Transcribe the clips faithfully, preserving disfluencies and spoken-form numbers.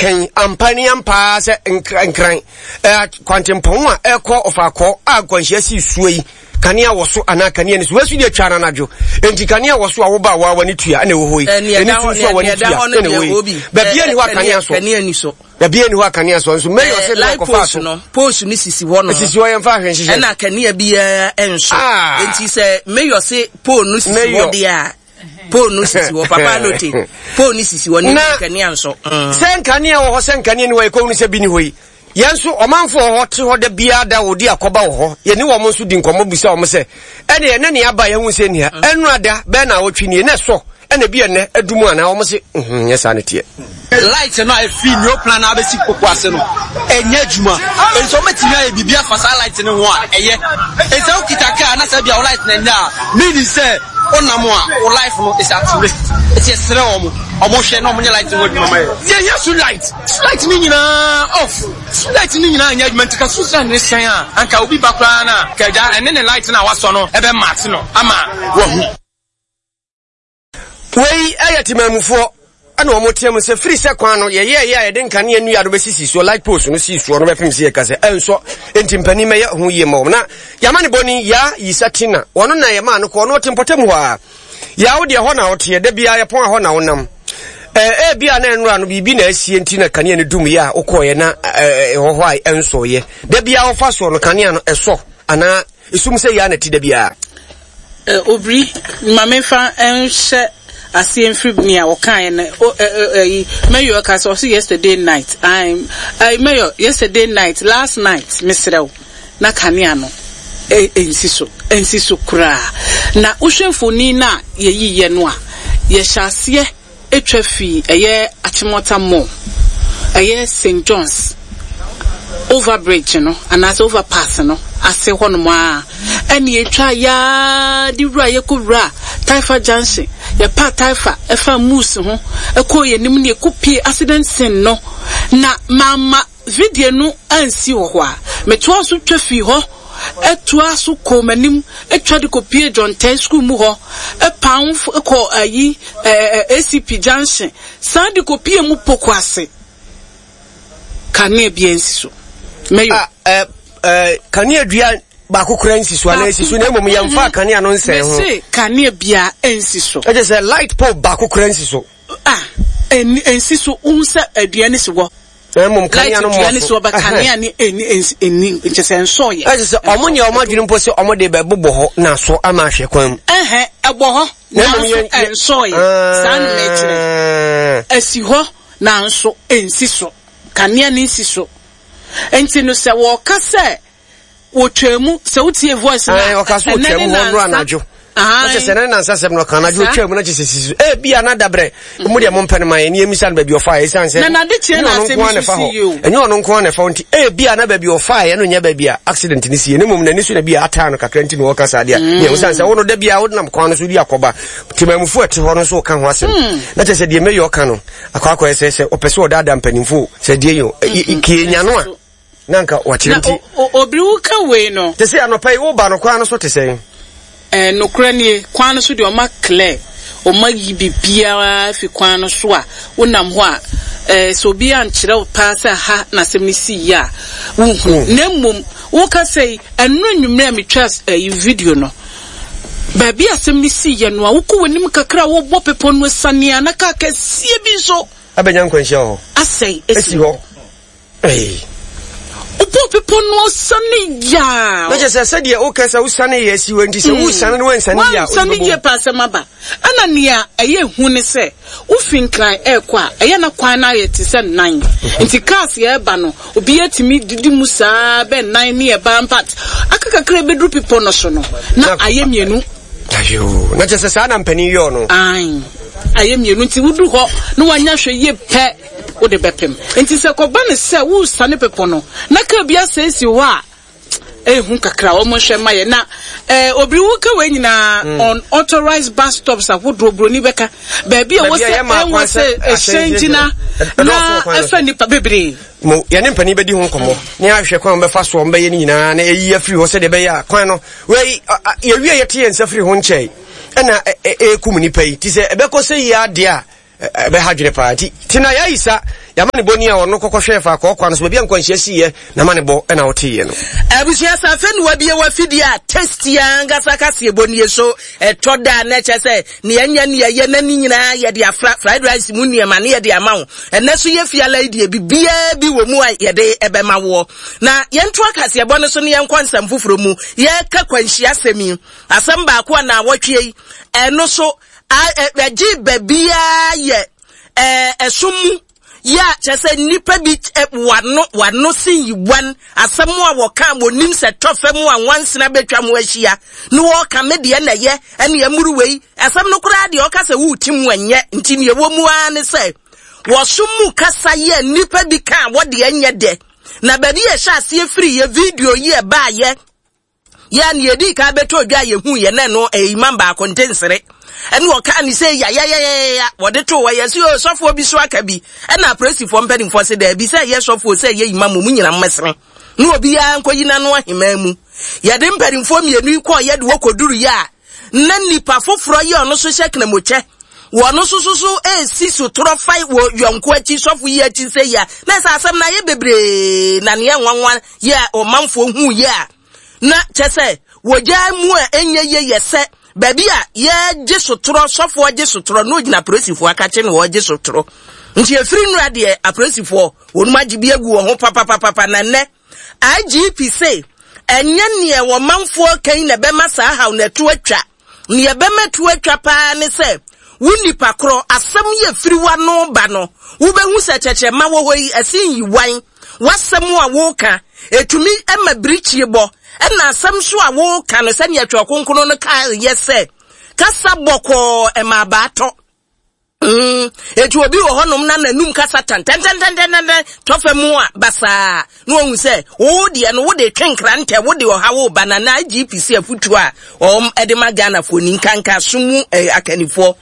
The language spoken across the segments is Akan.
yɛkɛn ampa ne ampaa sɛ nkran kwantempɔn a ɛkɔ Ɔfaakɔ a nkwanhyia si suo yi, kanea wɔ so anaa kanea ni so? Wɔasu deɛ twa no anadwo, enti kanea wɔ so a woba a waa w'ani tua ɛna ɛwɔ hɔ yi, ɛni so nso a w'ani tua ɛna ɛwɔ yi. Baabi ani hɔ a kanea so, baabi ani hɔ a kanea so nso mɛyɛ ɔsɛ de akɔfa so no, post no sisi hɔ no, sisi hɔ, yɛmfa ahwɛ nhyehyɛ. Ɛna kanea biara ɛnso. Enti sɛ mɛyɛ ɔsɛ pole no sisi hɔ deɛ a, pole no sisi hɔ papa lote, pole no sisi hɔ ne kanea nso. Sɛ nkanea wɔ hɔ, sɛ nkanea ni hɔ, yɛkɔhunu sɛ bi ni hɔ yi, yɛn nso ɔmanfo wɔ hɔ te hɔ da biara da wɔdi akɔba wɔ hɔ, yɛne wɔn nso di nkɔmmɔ bisa wɔn sɛ ɛne ɛnɛ ne aba yɛhu sɛ nia ɛnura da bɛɛ na awɔtwe nie na ɛsɔ ɛna bi ɛnɛ adum anaa wɔn se nyɛ saa ne teɛ. Light no a ɛfiri new plan na abɛsi Koko ase no ɛnyɛ adwuma, nso wɔbɛtumi ayɛ biribi afa saa light no ho a ɛyɛ. Nti wokita kaa na sɛ bia wo light no ɛnyɛ a, meaning sɛ wonam a wo life no is at risk. Nti yɛsrɛ wɔn, wɔn hwɛ na wɔn nyɛ light no ho adwuma ma yɛ. Yɛhia street light, street light no nyinaa off, street light no nyinaa nyɛ adwuma. Nti ka street light no hyɛn a, anka obi ba koraa na kagya ɛne ne light no a wasɔ no ɛbɛ match no ama wahu. Wei ɛyɛ temamufoɔ ɛna wɔn teɛ mu sɛ firi sɛ kwan no yɛyɛ yɛ a yɛde nkanea nnua no bɛsisi soɔ, light post no sii soɔ no bɛpem sɛ yɛka sɛ ɛnsɔ, enti mpanin mɛyɛ ho yie ma wɔn. Na yɛama ne bɔne yaa yisa tina wɔno na yɛmaa no kɔɔ no ɔte mpɔtam hɔ a yaa wo deɛ hɔ na woteɛ da biara yɛpɔn a hɔ na wonam ɛɛ bi a na ɛnora no biribi na asie nti na kanea no dum yɛ a wokɔɔyɛ na ɛhɔ hɔ a ɛnsɔɔyɛ. Da biara wɔfa soɔ no kanea no ɛsɔ anaa esum sɛ yaa na ti da biara? Obiri, ma memfa nhyɛ aseɛ mfiri nea wɔkaeɛ no. Ɛyi Mayor ka sɛ ɔse yesterday night, ɛyi Mayor, yesterday night, last night, mesrɛ wo, na kanea no ɛnsi so, ɛnsi so koraa. Na wohwɛ mfoni no a yɛyiiɛ no a, yɛhyɛ aseɛ atwa fii ɛyɛ Achimota Mall, ɛyɛ Saint John's overbridge no anaasɛ overpass no ase hɔnom a, ɛne yɛtwa yaa de wura, yɛkɔ wura Taifa Junction, yɛpa Taifa ɛfa Moose ho ɛkɔ yɛn nim ne yɛkɔ pie accident scene no. Na mama video no ansi wɔ hɔ a, metoa so twa fii hɔ, ɛtoa so kɔ m'anim, atwa de kɔ pie John Tɛ school mu hɔ, ɛpan kɔ ayi ɛɛ A C P Junction, saa de kɔ pie mu Poko ase, kanea bi ansi so mɛyɔ. Ɛɛ ɛɛ kanea dua baako kura nsi so anaa esi so, na mmom yɛmfa kanea no nsɛn ho? Mese kanea bia nsi so. Ɛkyɛ sɛ light pole baako kura nsi so? Ah, ɛnsi so. Wohu sɛ adua no si hɔ. Na mmom kanea no mmɔ so. Light dua no si hɔ, kanea no ɛni ɛni nkyɛ sɛ nsɔɔyɛ. Ɛkyɛ sɛ ɔmo nyɛ ɔmo adwene mpo sɛ ɔmo de bɛbobɔ hɔ na so ama ahwɛ kwan mu. Ɛhɛn, ɛbɔ hɔ nanso ɛnsɔɔyɛ. Saa na mɛkyerɛ, ɛsi hɔ nanso ɛnsi so, kanea no nsi so. Nti no sɛ wɔka sɛ wɔtwa mu sɛ wotie voice na ɔka so wɔtwa mu hɔ nnora anadwo, na kyɛ sɛ ne nansa sɛm no ɔka anadwo ɔtwa mu, na kyɛ sɛ sisi so ebi a na dabrɛ mu deɛ mompɛ no ma yɛ ne yɛmisa no baabi ɔfa, ɛsiane sɛ ɛnyɛ ɔno nko ara na ɛfa hɔ, ɛnyɛ ɔno nko ara na ɛfa hɔ. Nti ebi a na baabi ɔfa yɛ no nyɛ baabi a accident ne sie, ne mmom n'ani so na bi a ataa no kakra nti na wɔka saa deɛ mm. Nea ɛsiane sɛ wo no da bi a wonam kwan no so di akɔba, temamufoɔ ɛte hɔ no nso woka ho asɛm mm. Na kyɛ sɛ deɛ mɛyɛ ɔka no akɔ akɔyɛ sɛ sɛ ɔpɛ sɛ ɔdaadaa mpanimfoɔ sɛ deɛ yɛ kie nya no a na nka wakyerɛ nti. Obiri, wo ka wei no. Te sɛ anɔpa yi woba no, kwan no so te sɛn? Ɛɛ, nokorɛ nie, kwan no so deɛ ɔma clear, ɔma yi biribiara fi kwan no so a wonam hɔ a, ɛɛ sɛ obi ankyerɛ wo paa sɛ ha na asɛm no si yie a, wonhunu. Na mmom woka sɛ yi ɛno anwummerɛ a metwa ɛyi video no, baabi a asɛm no si yɛ no a, wokɔ w'anim kakra a, wobɔ bepɔ no asiane a na kaa kɛseɛ bi nso abɛnya nkwanhyia wɔ hɔ. Asɛe. Esi hɔ. Wobɔ bepɔ no asiane yaa. Na kyerɛ sɛ sɛdeɛ woka sɛ wosane yɛ asi hɔ nti sɛ wosane no wansane yie a, wansane yie pa, asɛm aba. Ɛna nea ɛyɛ hu ne sɛ wofi Nkran ɛrekɔ a, ɛyɛ na kwan no ayɛ te sɛ nan, nti cars yɛreba no, obi atumi didi mu saa bɛ nan ne ɛba mpat aka kakra bɛduru bepɔ no so no na ayɛ mmienu. Ayo, na kyerɛ sɛ saa na mpanin yɔɔ no. Ae, ayɛ mmienu, nti wodu hɔ na wanya hwɛ yie pɛ, wode bɛpem. Nti sɛ kɔba ne sɛ wosane bepɔ no na kaa bi asɛesi hɔ a, ehu kakra. Wɔn nhwɛ ma yɛ na ɛɛ obiri wo ka wei nyinaa mm. Unauthorized bus stops ahodoɔ, buroni bɛka baabi a wɔsɛ ɛwɔ sɛ ɛhyɛn gyina na ɛfɛ nipa bebree. Mo yɛne mpanin bɛdi ho nkɔmmɔ ne ahwɛ kwan bɛfa so ɔmbɛyɛ no nyinaa na ɛyi afiri hɔ sɛdeɛ ɛbɛyɛ a kwan no wei yɛwie yɛte yɛn nsa firi ho nkyɛe ɛna ɛkum nipa yi ti sɛ ɛbɛkɔ sɛ yi adeɛ a Ɛbɛha dwene paa. Nti tina yɛayisa yɛama ne bɔni a ɔno kɔkɔhwɛɛ fa kɔɔkwa no so baabi a nkwanhyia siiɛ na ma ne bɔ ɛna woteeɛ no. Abusua sɛ afei ne wabie wafidie a tasty ankasa kaseɛ bɔ nie so ɛtɔ da na ɛkyɛ sɛ nea ɛnyɛ nea ɛyɛ na ne nyinaa yɛde afra fried rice mu nneɛma ne yɛde ama wo. Ɛnɛ so yɛ fiala yi deɛ biribiara bi wɔ mu a yɛde ɛbɛma woɔ. Na yɛnto akaseɛbɔ no so ne yɛnkɔ nsɛm foforɔ mu. Yɛka kwanhyia asɛm yi, asɛm baako a na awɔtwe yi ɛno so ɛgye baabiara yɛ ɛsom mu yɛ a kyerɛ sɛ nnipa bi wano wano sen yi wan asɛm a wɔka wɔnim sɛ tɔ fam a nwansena bɛtwa ho ahyia na wɔka me deɛ na ɛyɛ ɛne ɛmuru wei asɛm no koraa deɛ ɔka sɛ wote mu ɛnyɛ nti neɛ ɛwɔ mu ara ne sɛ wɔsom mu kasa yɛ nnipa bi ka a wɔde ɛnyɛ dɛ na baabi yɛ hyɛ aseɛ firi yɛ video yi ɛbaayɛ yɛ ne yɛdi ka bɛtɔ dwa yɛhu yɛ na no ɛyɛ imam baako ntensere ɛne ɔka ne sɛ yayayayaya wɔde to hɔ yɛsi o sɔfoɔ bi so aka bi ɛna apolisifoɔ mpanimfoɔ sɛ daabi sɛ ɛyɛ sɔfoɔ sɛ ɛyɛ imam mu nyina mmɛsene na obiara nkɔyi n'ano ahemmaa mu. Yɛde mpanimfoɔ mmienu yi kɔɔ yɛde wɔkɔduru yɛ a na nipa foforɔ yi ɔno so hyɛ knamokyɛ wɔno so so so esi sotorɔ fa wɔ yɔnko akyi sɔfo yi akyi sɛ yɛ na sɛ asɛm na ayɛ bebree na neɛ nwanwa yɛ a ɔmanfoɔ hu yɛ a na kyɛ sɛ wɔgyaa mu a ɛnyɛ yɛ yɛ sɛ baabi a yɛgye sotorɔ sɔfoɔ gye sotorɔ na ogyina apolisifoɔ akakye na wɔgye sotorɔ nti efiri nnura deɛ apolisifoɔ wɔn agye bi agu wɔn ho papapapa na nnɛ I G P se ɛnyɛ neɛ wɔmanfoɔ kan na ɛbɛma saa haw na ɛto atwa neɛ ɛbɛma to atwa paa ne sɛ wo nipa korɔ asɛm yɛ firi wano ba no wobɛhu sɛ kyɛkyerɛma wɔ hɔ yi ɛsen yi wan wasɛm a woka etumi ɛma birikyie bɔ ɛna asɛm so a woka no sɛnea Twerɛ Kronkron no ka yɛ sɛ kasa bɔkɔɔ ɛma abaatɔ. Mm, etu obi wɔ hɔnom na n'anum kasa tan tan tan tan tan tan tɔfɛ mu a basaa na ohun sɛ wo deɛ no wo de twe nkrantɛ wo de ɔha wo ba na na I G P C afutuo a wɔn ɛde ma Ghanafoɔ ni nkanka so mu eh, akanifoɔ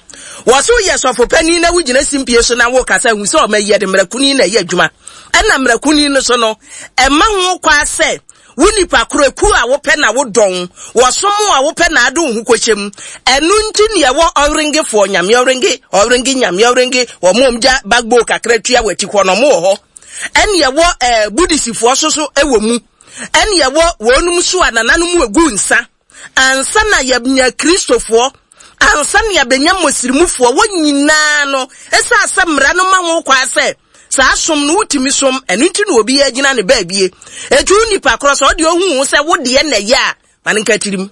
wɔso yɛ sɔfo panin na wogyina simpie so na wo kasa hu sɛ ɔma yɛ de mmerakuni na ɛyɛ adwuma ɛna mmerakuni no so no ɛma ho kwa sɛ wo nipa koro ku a wopɛ na wodɔn wɔsom a wopɛ na ade wo ho kɔhyɛm ɛno nti ne ɛwɔ ɔrengefoɔ nyame ɔrenge ɔrenge nyame ɔrenge wɔn gya bagbo kakra tua wɔ akyi hɔ no mo wɔ hɔ ɛne ɛwɔ ɛɛ Buddhistfoɔ so so ɛwɔ mu ɛne ɛwɔ wɔnom so a nananom egu nsa ansa na yɛnya Kristofoɔ ansa na yɛbɛnya Muslimfoɔ wɔn nyinaa no ɛsɛ asɛ mmara no ma ho kwa sɛ saa som no wotumi som ɛno nti na obi agyina ne baabie etu nipa korɔ sɛ ɔde ohu wo sɛ wo deɛ na ɛyɛ a ma ne nka tirim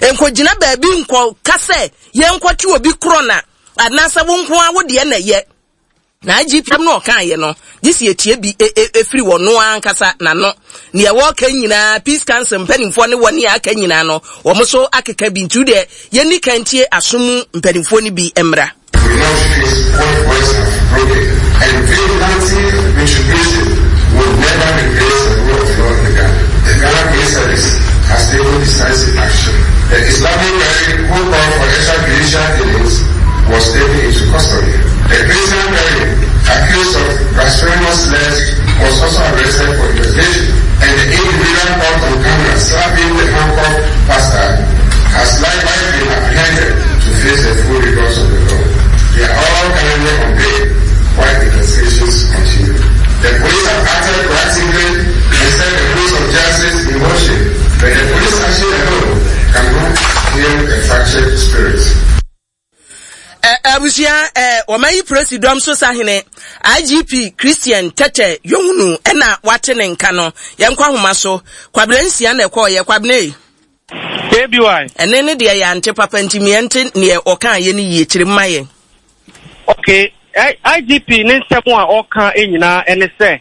nkɔgyina baabi nkɔ ka sɛ yɛnkɔte obi korɔ na anaasɛ wo nko a wo deɛ na ɛyɛ na I G P no ɔka yɛ no gye sɛ yɛtie bi ɛfiri wɔ no ankasa n'ano nea wɔka nyinaa Peace Council mpanimfoɔ ne wɔne aka nyinaa no wɔn so akeka bi nti deɛ yɛnni kantie asom mpanimfoɔ no bi mmra. We not face what voice have broken, and vigilante retribution will never replace the rule of law in the Ghana. The Ghana Police Service has taken decisive action. The Islamic cleric who called for extrajudicial killings was taken into custody. The Christian cleric accused of blasphemous slurs was also arrested for investigation, and the individual caught on camera slapping the handcuffed pastor has likewise been apprehended to face the full rigors of the law. They are all currently on bail while investigations continue. The police have acted proactively and set the course of justice in motion, but the police action alone cannot heal a fractured spirit. Abusua eh wɔmayi president so sahene I G P Christian Tete Yohunu ɛna wate ne nka no yɛnkɔ ahoma so Kwabena nsia na ɛkɔɔ yɛ Kwabena K B Y ɛne ne deɛ yɛante papa nti miɛnte neɛ ɔka yɛ ne yie kyerɛ mma yɛn. Okay, I G P ne nsɛm a ɔka nyinaa ɛne sɛ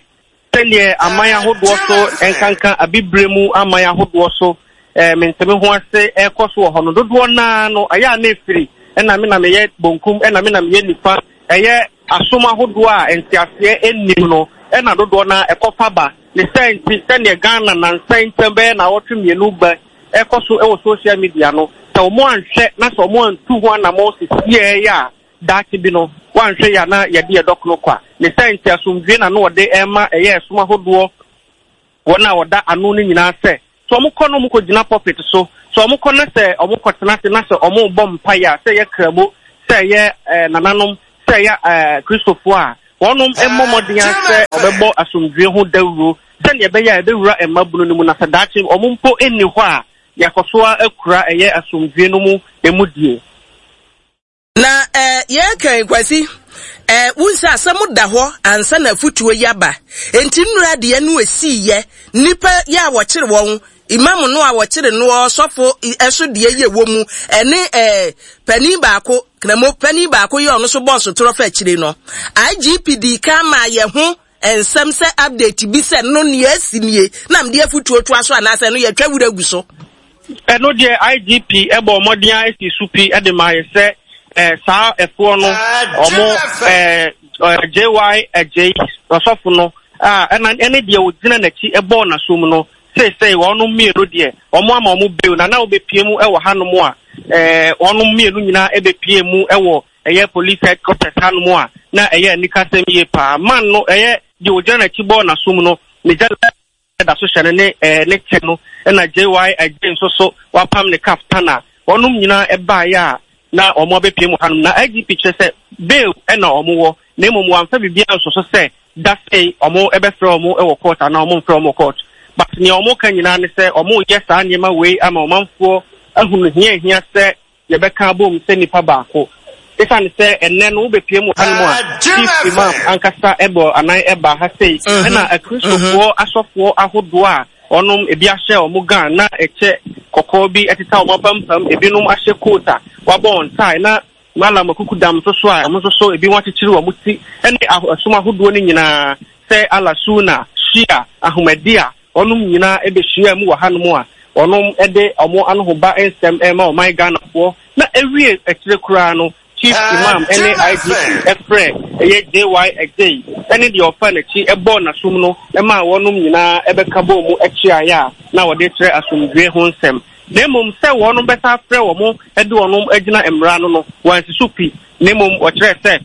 sɛneɛ aman ahodoɔ so nkanka abibire mu aman ahodoɔ so eh, menteme ho ase ɛkɔ so wɔ hɔ no dodoɔ naa no ɛyɛ a na efiri ɛna me na meyɛ bonkum ɛna me na meyɛ nifa ɛyɛ asom ahodoɔ a nteaseɛ nnim no ɛna dodoɔ naa ɛkɔfa ba ne sɛ nti sɛneɛ Ghana nansa ntɛm bɛyɛ na awɔtwe mmienu ba ɛkɔ so ɛwɔ social media no sɛ ɔmo anhwɛ na sɛ ɔmo antu ho anamɔ sisiɛ yɛ a daakye bi no wanhwɛ yɛ na yɛde yɛ dɔkono kwa ne sɛ nti asomdwe na no wɔde ɛma ɛyɛ ɛsom ahodoɔ wɔn a wɔda ano no nyinaa sɛ sɛ ɔmo kɔ no ɔmo kɔ gyina pulpit so sɛ ɔmo kɔ na sɛ ɔmo kɔ tena ase na sɛ ɔmo bɔ mpaeɛ a sɛ yɛ kramo sɛ yɛ ɛɛ nananom Sɛ ɛyɛ ɛɛ Kristofoɔ a, wɔnom mmɔ mmɔden ara sɛ wɔbɛbɔ asomdwoeɛ ho dawuro sɛdeɛ ɛbɛyɛ a ɛbɛwura mmabunu no mu na sɛ daakye wɔn mpo nni hɔ a, yɛakɔ so ara akura ɛyɛ asomdwoeɛ no mu emudie. Na eh, yɛreka yi, Kwasi, eh, wohu sɛ asɛm da hɔ ansa na afutuo yi aba. Enti nnura deɛ no ɛsiiɛ, nnipa yɛ a wɔkyere wɔn, Imam no a wɔkyere noɔ, sɔfo ɛso deɛ yi ɛwɔ mu, ɛne eh, panin baako, Kramo panin baako yɛ ɔno so bɔɔ sotorɔ fa akyire no. I G P dii kan maa yɛ ho nsɛm sɛ update bi sɛ no nea asi nie na mede afutuo toa so anaasɛ no yɛtwa wura gu so. Ɛno deɛ I G P bɔɔ mmɔden ara sii so pi de maa yɛ sɛ eh, saa ɛfoɔ no ɔmo eh, J Y Adjei ɔsɔfo no a ɛna ɛne deɛ ɔgyina n'akyi bɔɔ n'asom no, seesei wɔnom mmienu deɛ wɔn ama wɔn bail na na wɔbɛpie mu wɔ hanom a eh, wɔnom mmienu nyinaa ɛbɛpie mu wɔ ɛyɛ police headquarters hanom a na ɛyɛ anikasɛm yie paa. Man no ɛyɛ deɛ ɔgyina n'akyi bɔɔ n'asom no ne gya da so hyɛ no ne eh, ne kyɛ no, ɛna J Y Adjei nso so wapam ne kaftan a wɔnom nyinaa ɛbaeɛ a na wɔn abɛpie mu hanom. Na I G P kyerɛ sɛ bail ɛna wɔn wɔ, na mmom wɔamfa biribiara nso so sɛ da sei wɔn ɛbɛfrɛ wɔn wɔ court anaa wɔn mfrɛ wɔn wɔ court. But nea wɔn ka nyinaa ne sɛ wɔn yɛ saa nneɛma wei ama ɔmanfoɔ ahunu hia hia sɛ yɛbɛka abom sɛ nipa baako. Esiane sɛ ɛnnɛ no wobɛpue mu wɔ hanom a, Chief Imam ankasa bɔ anan ba ha sei, ɛna Akristofoɔ asɔfoɔ ahodoɔ a wɔnom ebi ahyɛ wɔn gown na ɛkyɛ kɔkɔɔ bi ɛteta wɔn apampam, ebinom ahyɛ coat a wɔabɔ wɔn tie, na Mallam Akukudam nso so a wɔn nso so ebi wɔakyekyere wɔn ti, ɛne ɛsom ahodoɔ no nyinaa sɛ Allah Sunna, Shia, Ahmadiyya, Wɔnom nyinaa bɛhyiaa mu wɔ hanom a wɔnom de wɔn anohoba nsɛm rema ɔman Ghanafoɔ, na ɛwie akyire koraa no Chief Imam ne I G P frɛɛ ɛyɛ J Y Adjei ne deɛ ɔfaa n'akyi bɔɔ n'asom no maa wɔnom nyinaa bɛka bɔɔ mu kyeaeɛ a na wɔde rekyerɛ asomdwoeɛ ho nsɛm. Na mmom sɛ wɔnom bɛsan afrɛ wɔn de wɔnom agyina mmara ano no wɔansi so pi, na mmom wɔkyerɛɛ sɛ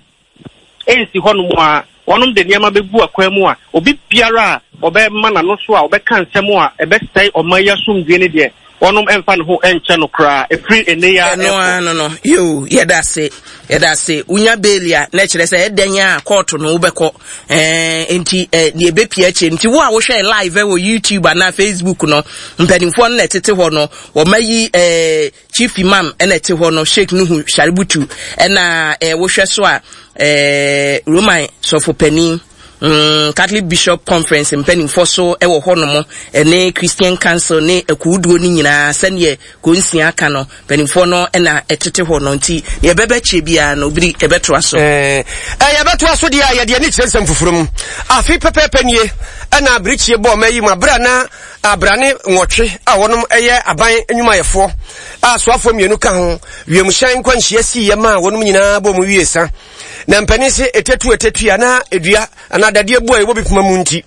ɛnsi hɔnom a, wɔnom de nneɛma bɛgu akwan mu a, obi biara a ɔbɛma n'ano so a ɔbɛka nsɛm a ɛbɛsɛe ɔman yi asomdwoeɛ no deɛ, wɔnom mfa ne ho nkyɛ no koraa, ɛfiri ɛnnɛ yi ara Ɛno rekɔ. ara no no, yoo, yɛda ase, yɛda ase. Wonya bail a, na ɛkyerɛ sɛ ɛdɛn a kɔɔto no wobɛkɔ. Ɛɛ, nti ɛ, deɛ ɛbɛpia akyire. Nti wo a wohwɛ live wɔ YouTube anaa Facebook no, mpanimfoɔ no na ɛtete hɔ no, wɔayi ɛɛ, Chief Imam na ɛte hɔ no, Sheikh Nuhu Shaributu, ɛna eh, wohwɛ so a eh, Roman sɔfopanin, mm, Catholic Bishop Conference mpanimfoɔ so wɔ hɔnom, ɛne Christian Council ne akuwuduo no nyinaa sɛdeɛ konsia aka no, mpanimfoɔ no na ɛtete hɔ no, nti deɛ ɛbɛbɛ kyerɛ biara no, obiri ɛbɛtoa so. Eh, eh, yɛbɛtoa so deɛ a yɛde ani kyerɛ nsɛm foforɔ mu. Afe pɛpɛɛpɛ nie ɛna abirekyie bɔɔ ma yi mu abere a na abrane nwɔtwe a wɔnom yɛ aban nnwumayɛfoɔ a soafoɔ mmienu ka ho wiemhyɛn nkwanhyia siiɛ maa wɔnom nyinaa bɔ mu wie sa. Na mpanin se etetu etetu anaa edua anaa dadeɛ bu a ɛwɔ bi poma mu nti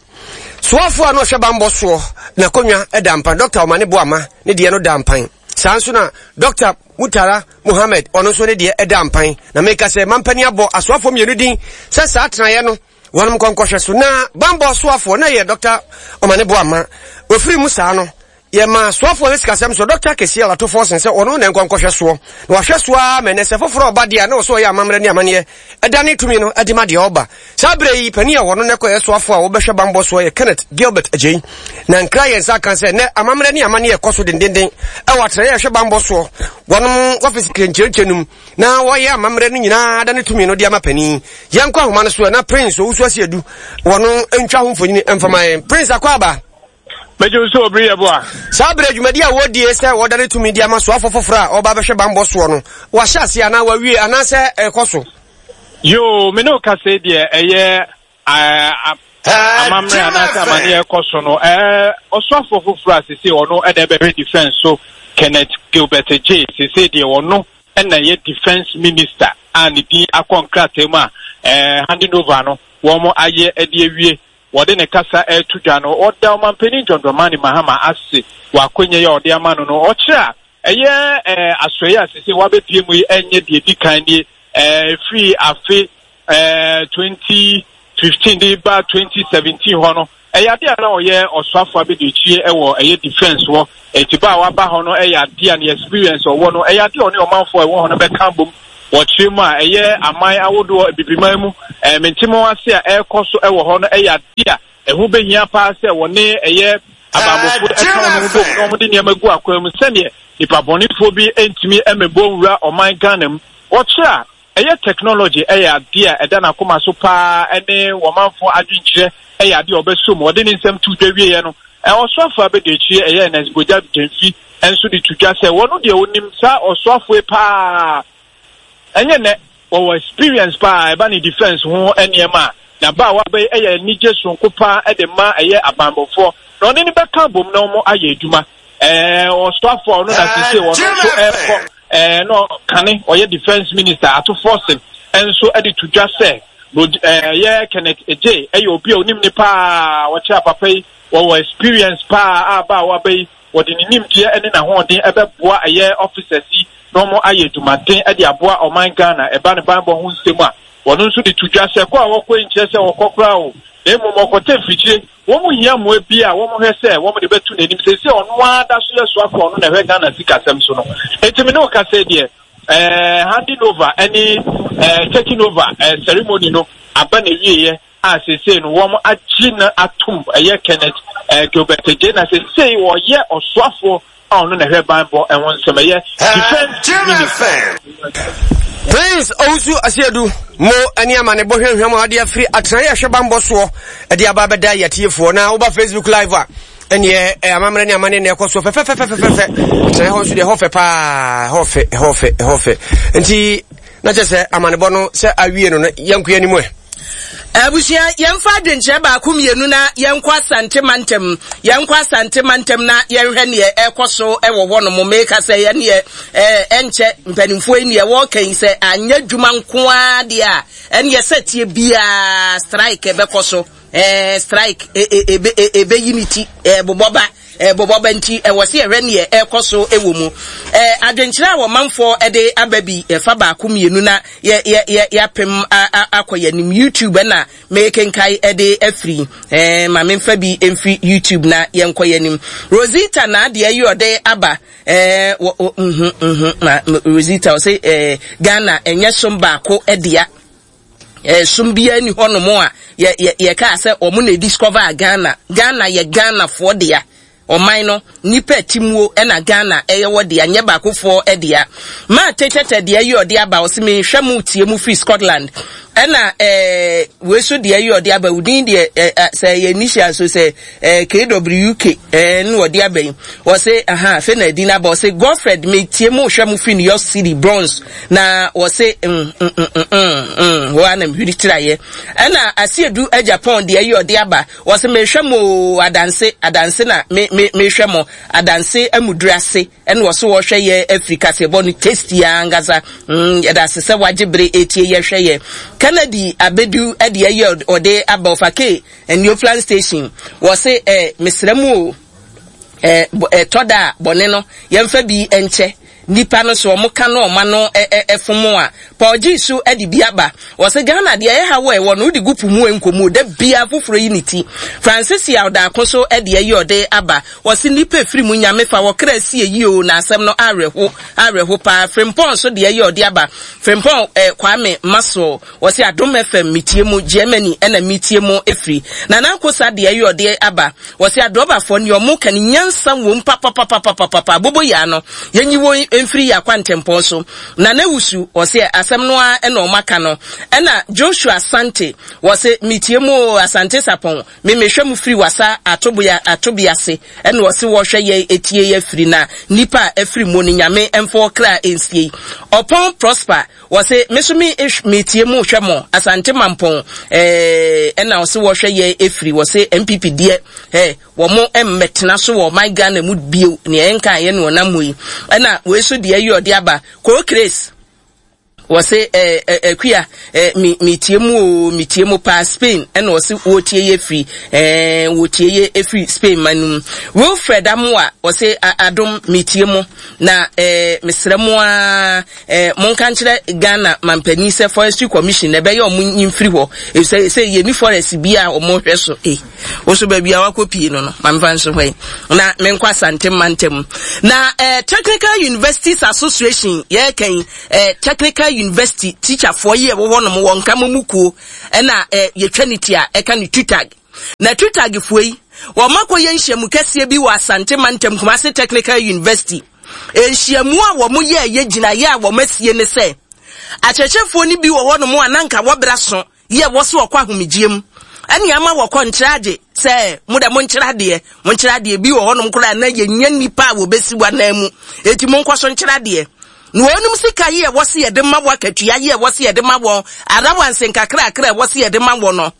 soafoɔ a na ɔhwɛ banbɔ soɔ n'akonnwa da mpan, Dɔkta Omane Boama ne deɛ no da mpan. Saa nso na Dɔkta Mutara Muhammed ɔno nso ne deɛ da mpan. Na meka sɛ mampanin abɔ asoafoɔ mmienu din sɛ saa tenaeɛ no wɔnom nkɔnkɔhwɛ so. Na banbɔ soafoɔ na yɛ Dɔkta Omane Boama. Ofiri mu saa no, yɛma soafoɔ no sikasɛm so Dɔkta Kesi Alato Forson sɛ ɔno na nkɔnkɔhwɛ soɔ. Na wahwɛ so ara ma ɛnɛ sɛ foforɔ ɔba deɛ a na ɔsɛ ɔyɛ amammerɛ ne amanneɛ ɛdane tumi no de ma deɛ ɔba. Saa berɛ yi, panin a wɔno na ɛkɔyɛ soafoɔ a wɔbɛhwɛ banbɔ soɔ yɛ Kenneth Gilbert Adjei. Na nkra yɛn nsa aka sɛ nɛ amammerɛ ne amanneɛ ɛkɔ so dendenden ɛwɔ atenaeɛ a ɛhwɛ banbɔ soɔ wɔnom wɔfisi nkyerɛnkyerɛ no mu na wɔyɛ amammerɛ no nyinaa da ne tumi no de ama panin. Yɛnkɔ ahoma no so na Prince Owusu Asiedu wɔno ntwa ho mfonini mfama yɛn. Prince akɔ aba. Mɛgye wo sɛ obiri yɛ boa. Saa berɛ dwumadi a wɔdie sɛ wɔda ne tumi de ama soafo foforɔ a ɔba bɛhwɛ banbɔ soɔ no, wɔahyɛ aseɛ anaa wɔawie anaasɛ ɛrekɔ so? Yoo, me ne wo kasa yi deɛ ɛyɛ amammerɛ anaasɛ amanneɛ ɛkɔ so no, ɔsoafoɔ foforɔ a sese ɔno ɛna ɛbɛhwɛ defense so, Kenneth Gilbert Adjei, sese deɛ ɔno ɛna ɛyɛ defense minister a ne din akɔ nkrataa mu a handing over no wɔn ayɛ ɛde awie. Wɔde ne kasa reto dwa no, ɔda Ɔmanpanin John Dramani Mahama ase wɔ akwannya yi a ɔde ama no no. Ɔkyerɛ a ɛyɛ asoɛeɛ a seesei wabɛpue mu yi nyɛ deɛ ɛdi kan nie. Ɛfiri afe twenty fifteen de ba twenty seventeen hɔ no, ɛyɛ adeɛ a na ɔyɛ ɔsoafoɔ abɛdiakyire wɔ ɛyɛ defence hɔ. Enti ba a waba hɔ no yɛ adeɛ a ne experience ɔwɔ no, ɛyɛ adeɛ a ɔne ɔmanfoɔ a ɛwɔ hɔ no bɛka abom Wɔkyerɛ mu a, ɛyɛ aman ahodoɔ Abibiman mu mentemo ase a ɛrekɔ so wɔ hɔ no yɛ adeɛ a ɛho bɛhia paa sɛ wɔne ɛyɛ abanbɔfoɔ ɛka wɔn ho bom na wɔde nneɛma gu akwan mu sɛdeɛ nipa bɔnefoɔ bi ntumi mmɛbɔ nwura ɔman Ghana mu. Wɔkyerɛ a, ɛyɛ technology yɛ adeɛ a ɛda n'akoma so paa ne wɔmanfoɔ adwenkyerɛ yɛ adeɛ a ɔbɛsɔ mu. Ɔde ne nsɛm too dwa wieɛ no, ɔsoafoɔ abɛdiakyire ɛyɛ Ernest Bogya Gyamfi nso de to dwa sɛ wɔn deɛ ɔnim saa ɔsoafoɔ yi paa, ɛnyɛ nnɛ, wɔwɔ experience paa ɛba ne defense ho nneɛma a, na ba a waba yi yɛ anigye soronko paa de ma ɛyɛ abanbɔfoɔ na ɔne no bɛka abom na wɔn ayɛ adwuma. Ɛɛ ɔsoafoɔ a ɔno na sese ɔno nso ɛrekɔ ɛɛ na kane ɔyɛ defense minister Ato Forson nso de to dwa sɛ ɛyɛ Kenneth Adjei ɛyɛ obi a onim ne paa, ɔkyerɛ papa yi wɔwɔ experience paa a ba a waba yi wɔde ne nimdeɛ ne n'ahoɔden ɛbɛboa ɛyɛ officers yi na wɔn ayɛ adwumaden de aboa ɔman Ghana ɛba ne banbɔ ho nsɛm a wɔn nso de to dwa sɛ kɔ a wɔkɔ yi nkyerɛ sɛ wɔkɔ koraa o, na mmom wɔkɔtɛ mfirikyire. Wɔn hia mmoa bi a wɔn hwɛ sɛ wɔn de bɛto n'anim sɛ sɛ ɔno ara da so yɛ soafo a ɔno na ɛhwɛ Ghana sikasɛm so no. Enti me ne wo kasa yi deɛ, ɛɛ handing over ɛne ɛɛ taking over ɛɛ ceremony no aba n'awieɛ a seesei no wɔn agye no atom ɛyɛ Kenneth ɛɛ Gilbert Adjei na seesei wɔyɛ ɔsoafoɔ a ɔno na ɛhwɛ banbɔ ɛho nsɛm ɛyɛ defense minister. Prince Owusu Asiedu mo ne amanebɔ hwɛnhwɛm a ɔde afiri atenaeɛ ɛhwɛ banbɔ soɔ ɛde aba abɛda yɛtiefoɔ na woba Facebook live a ɛneɛ amammerɛ ne amanneɛ na ɛkɔ soɔ fɛfɛfɛfɛfɛ atenaeɛ hɔ nso deɛ ɛhɔ fɛ paa ɛhɔ fɛ ɛhɔ fɛ ɛhɔ fɛ nti na kyerɛ sɛ amanebɔ no sɛ awie no no yɛnko anim ɛ. Abusua, yɛmfa adwenkyerɛ baako mmienu na yɛnkɔ Asante mantam. Yɛnkɔ Asante mantam na yɛnhwɛ neɛ ɛrekɔ so wɔ hɔ nom. Meka sɛ yɛneɛ ɛnkyɛ mpanimfoɔ yi neɛ wɔreka yi sɛ anyɛ adwuma nko ara deɛ a ɛneɛ sɛ tie biara strike ɛbɛkɔ so. Ɛɛ strike ɛbɛyi ne ti ɛbobɔ ba. Ɛbobɔ ba nti ɛwɔ sɛ yɛhwɛ neɛ ɛrekɔ so wɔ mu. Ɛɛ adwenkyerɛ a wɔmanfoɔ de aba bi ɛfa baako mmienu na yɛ yɛ yɛ yɛapem akɔ yɛn anim. YouTube ɛna mekenkae ɛde afiri. Ɛɛ ma memfa bi mfiri YouTube na yɛnkɔ yɛn anim. Rosita na adeɛ yi ɔde aba. Ɛɛ wɔ wɔ mhm mhm ma Rosita ɔsɛ ɛɛ Ghana ɛnyɛ som baako ɛdea. Ɛsom biara ni hɔnom a yɛ yɛ yɛkaa sɛ wɔn na discover Ghana. Ghana yɛ Ghanafoɔ dea. Ɔman no nipa timuo ɛna Ghana ɛyɛ wɔ dea, nyɛ baakofoɔ dea. Maa tetɛtɛ deɛ yi ɔde aba ɔsi mi nhwɛ mu tie mu firi Scotland. Ɛna ɛɛ wei so deɛ yi ɔde aba udin deɛ ɛɛ sɛ ɛyɛ initial so sɛ ɛɛ K W K ɛɛ ne ɔde aba yi. Ɔsi aha afei na ɛdi n'aba ɔsi Godfred mi tie mu hwɛ mu firi New York City Bronx. Na wɔse mm mm mm mm mm mm hɔ ara na mehwiri tiraeɛ. Ɛna Asiedu Japan deɛ yi ɔde aba. Wɔse mehwɛ mo oo adanse adanse na me me mehwɛ mo adanse amuduru ase. Ɛna wɔse wɔhwɛ yɛ afiri kaseɛbɔ no tasty ankasa. Mm yɛda ase sɛ wagye bere etie yɛ hwɛ yɛ. Kennedy Abedu deɛ yi ɔde aba ɔfa K Neoplan station. Wɔse eh mesrɛ mo oo eh ɛtɔ da a bɔne no yɛmfa bi nkyɛ. Nipa no so ɔmo ka no ɔma no fom a Paul gyee so de bi aba. Ɔse Ghana deɛ ɛyɛ haw a ɛwɔ no wode gu po mu ɛnkɔ mu o da biaa foforɔ yi ne ti. Francis Yaw Daako so deɛ yi ɔde aba. Ɔse nipa ɛfiri mu Nyame fa wɔ kra sie yie o na asɛm no awerɛho awerɛho paa. Frimpong nso deɛ yi ɔde aba. Frimpong eh, Kwame Maxwell Ɔse Adom F M metie mo, Germany ɛna metie mo ɛfiri. Nana Akosa deɛ ɛyɛ ɔde aba. Ɔse adrɔbafoɔ neɛ ɔmo ka no nyansa wom papapapapapa aboboyaa no yɛnyi wɔn mfiri yɛ akwantempɔn so. Nana Wusu ɔse asɛm no ara ɛna ɔmo aka no. Ɛna Joshua Asante ɔse metie mo oo Asante Sapɔn me mehwɛ mo firi wasa atoboya atobiase ɛna ɔse wɔhwɛ yɛn ɛtie yɛ firi na nipa a ɛfiri mo no Nyame ɛmfa ɔkra ɛnsie. Ɔpɔn Prosper Wɔse me so me metie mo hwɛ mo Asante Mampɔn eh, ɛna ɔse wɔhwɛ yɛ efiri wɔse N P P deɛ eh, wɔn mmɛtena so wɔ ɔman Ghana mu bio nea ɛnka yɛ no ɔnam mu yi ɛna wei so deɛ yi ɔde aba Koo Grace wɔse eh, eh, akua eh, me metie mu o metie mu paa Spain ɛna ɔse wɔtie yɛ firi eh, wɔtie yɛ efiri Spain man no mu Wilfred Amoa wɔse adom metie mu na eh, mesrɛ mo a Eh, monka nkyerɛ Ghana mampanin sɛ Forestry Commission na ɛbɛyɛ ɔmo nyi mfiri hɔ, efisɛ sɛ yɛni forest bi a ɔmo hwɛ so. Eh, wo so baabi a wakɔ pii no no, ma mefa nso hɔ yi. Na menkɔ Asante mantam. Na eh, Technical Universities Association, yɛreka yi, eh, Technical University teacherfoɔ yi a ɛwɔ hɔnom wɔ nkama mu kuo ɛna eh, yɛtwa ne ti a ɛka ne TUTAG. Na TUTAGfoɔ yi, wɔn akɔyɛ nhyiamu kɛseɛ bi wɔ Asante Mantam Kumasi Technical University. Nhyiamu a wɔn yɛ yɛ gyinaeɛ a wɔn asie ne sɛ, akyerɛkyerɛfoɔ no bi wɔ hɔnom a na nka wɔbra so yɛ wɔ so wɔkɔ ahomegyeɛ mu. Ɛne ama wɔkɔ nkyerɛ agye sɛ mo dɛ monkyerɛ adeɛ, monkyerɛ adeɛ bi wɔ hɔnom koraa na yɛnya nnipa a wɔbɛsi w'anan mu. Enti monkɔ so nkyerɛ adeɛ. Na wɔnom sika yi a ɛwɔ se yɛde ma wɔ akatua yi a ɛwɔ se yɛde ma wɔn, arawanse nkakrakra a ɛwɔ se yɛde ma wɔn no,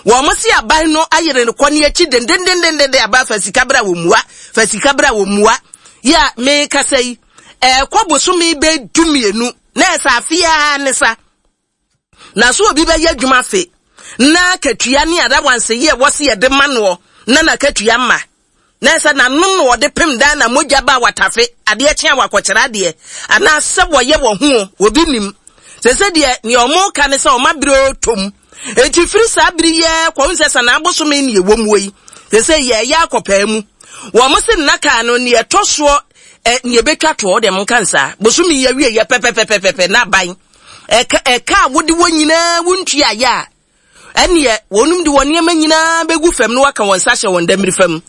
wɔn se aban no ayere no kɔ ne akyi dendendendenden aba fa sika bra wɔ mua, fa sika bra wɔ mua. Yɛ a mekasa yi, ɛkɔ bosome bɛ du mmienu, na ɛsɛ afeaa ne sa. Na so obi bɛyɛ adwuma afe, na akatua ne arawanse yi a ɛwɔ se yɛde ma noɔ, na n'akatua mma. Na ɛsɛ n'anom na wɔde pem dan na mogya ba watafe, adeɛ kye a wakɔkyerɛ adeɛ, anaasɛ wɔyɛ wɔ ho, obi nim. Sɛ sɛ deɛ, nea ɔmo ka ne sɛ ɔma bere otom. Enti firi saa bere yi kɔ sɛ sɛ n'abosome ne ɛwɔ mu yi, sɛ sɛ yɛyɛ akɔpaa mu. Wɔn se nnaka no nea ɛtɔ soɔ, ɛ, nea ɛbɛtwa toɔ, deɛ monka nsaa. Bosome yi awie yɛ pɛpɛpɛpɛpɛ na aban. Ɛka, ɛka a wode wɔ nyinaa wontua yɛ a, ɛneɛ wɔnom de wɔn nneɛma nyinaa bɛgu fam na wɔaka wɔn nsa hyɛ wɔn dammiri fam.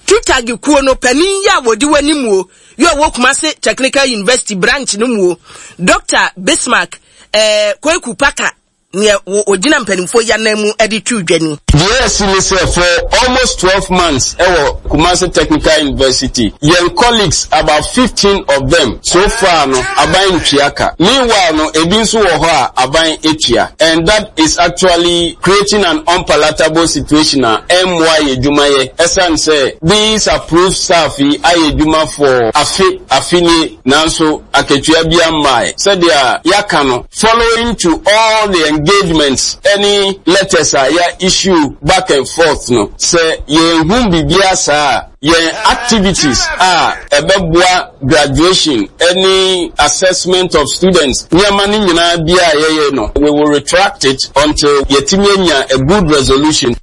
TUTAG kuo no panin yi a wɔdi w'anim o, yi a ɔwɔ Kumasi Technical University branch no mu o, Doctor Bismarck eh, Kweku Paka, nea ogyina mpanimfoɔ yi anan mu de tu dwa ni. Deɛ ɛsi ne sɛ for almost twelve months ɛwɔ Kumasi Technical University, yɛn colleagues about fifteen of them so far no aban ntua ka. Meanwhile no ebi nso wɔ hɔ a aban etua, and that is actually creating an unpalatable situation a ɛmmoa yɛ adwumayɛ. Ɛsan sɛ these approved staff yi ayɛ adwuma for afe afe nie, nanso akatua bi mmae. Sɛdeɛ yɛaka no, following to all the engagements, any letters a yɛ issue back and forth no, sɛ yɛnhu biribiara saa a, yɛn activities a ɛbɛboa graduation any assessment of students nneɛma no nyinaa bi a yɛyɛ no, we will retract it until yɛtumi anya a good resolution.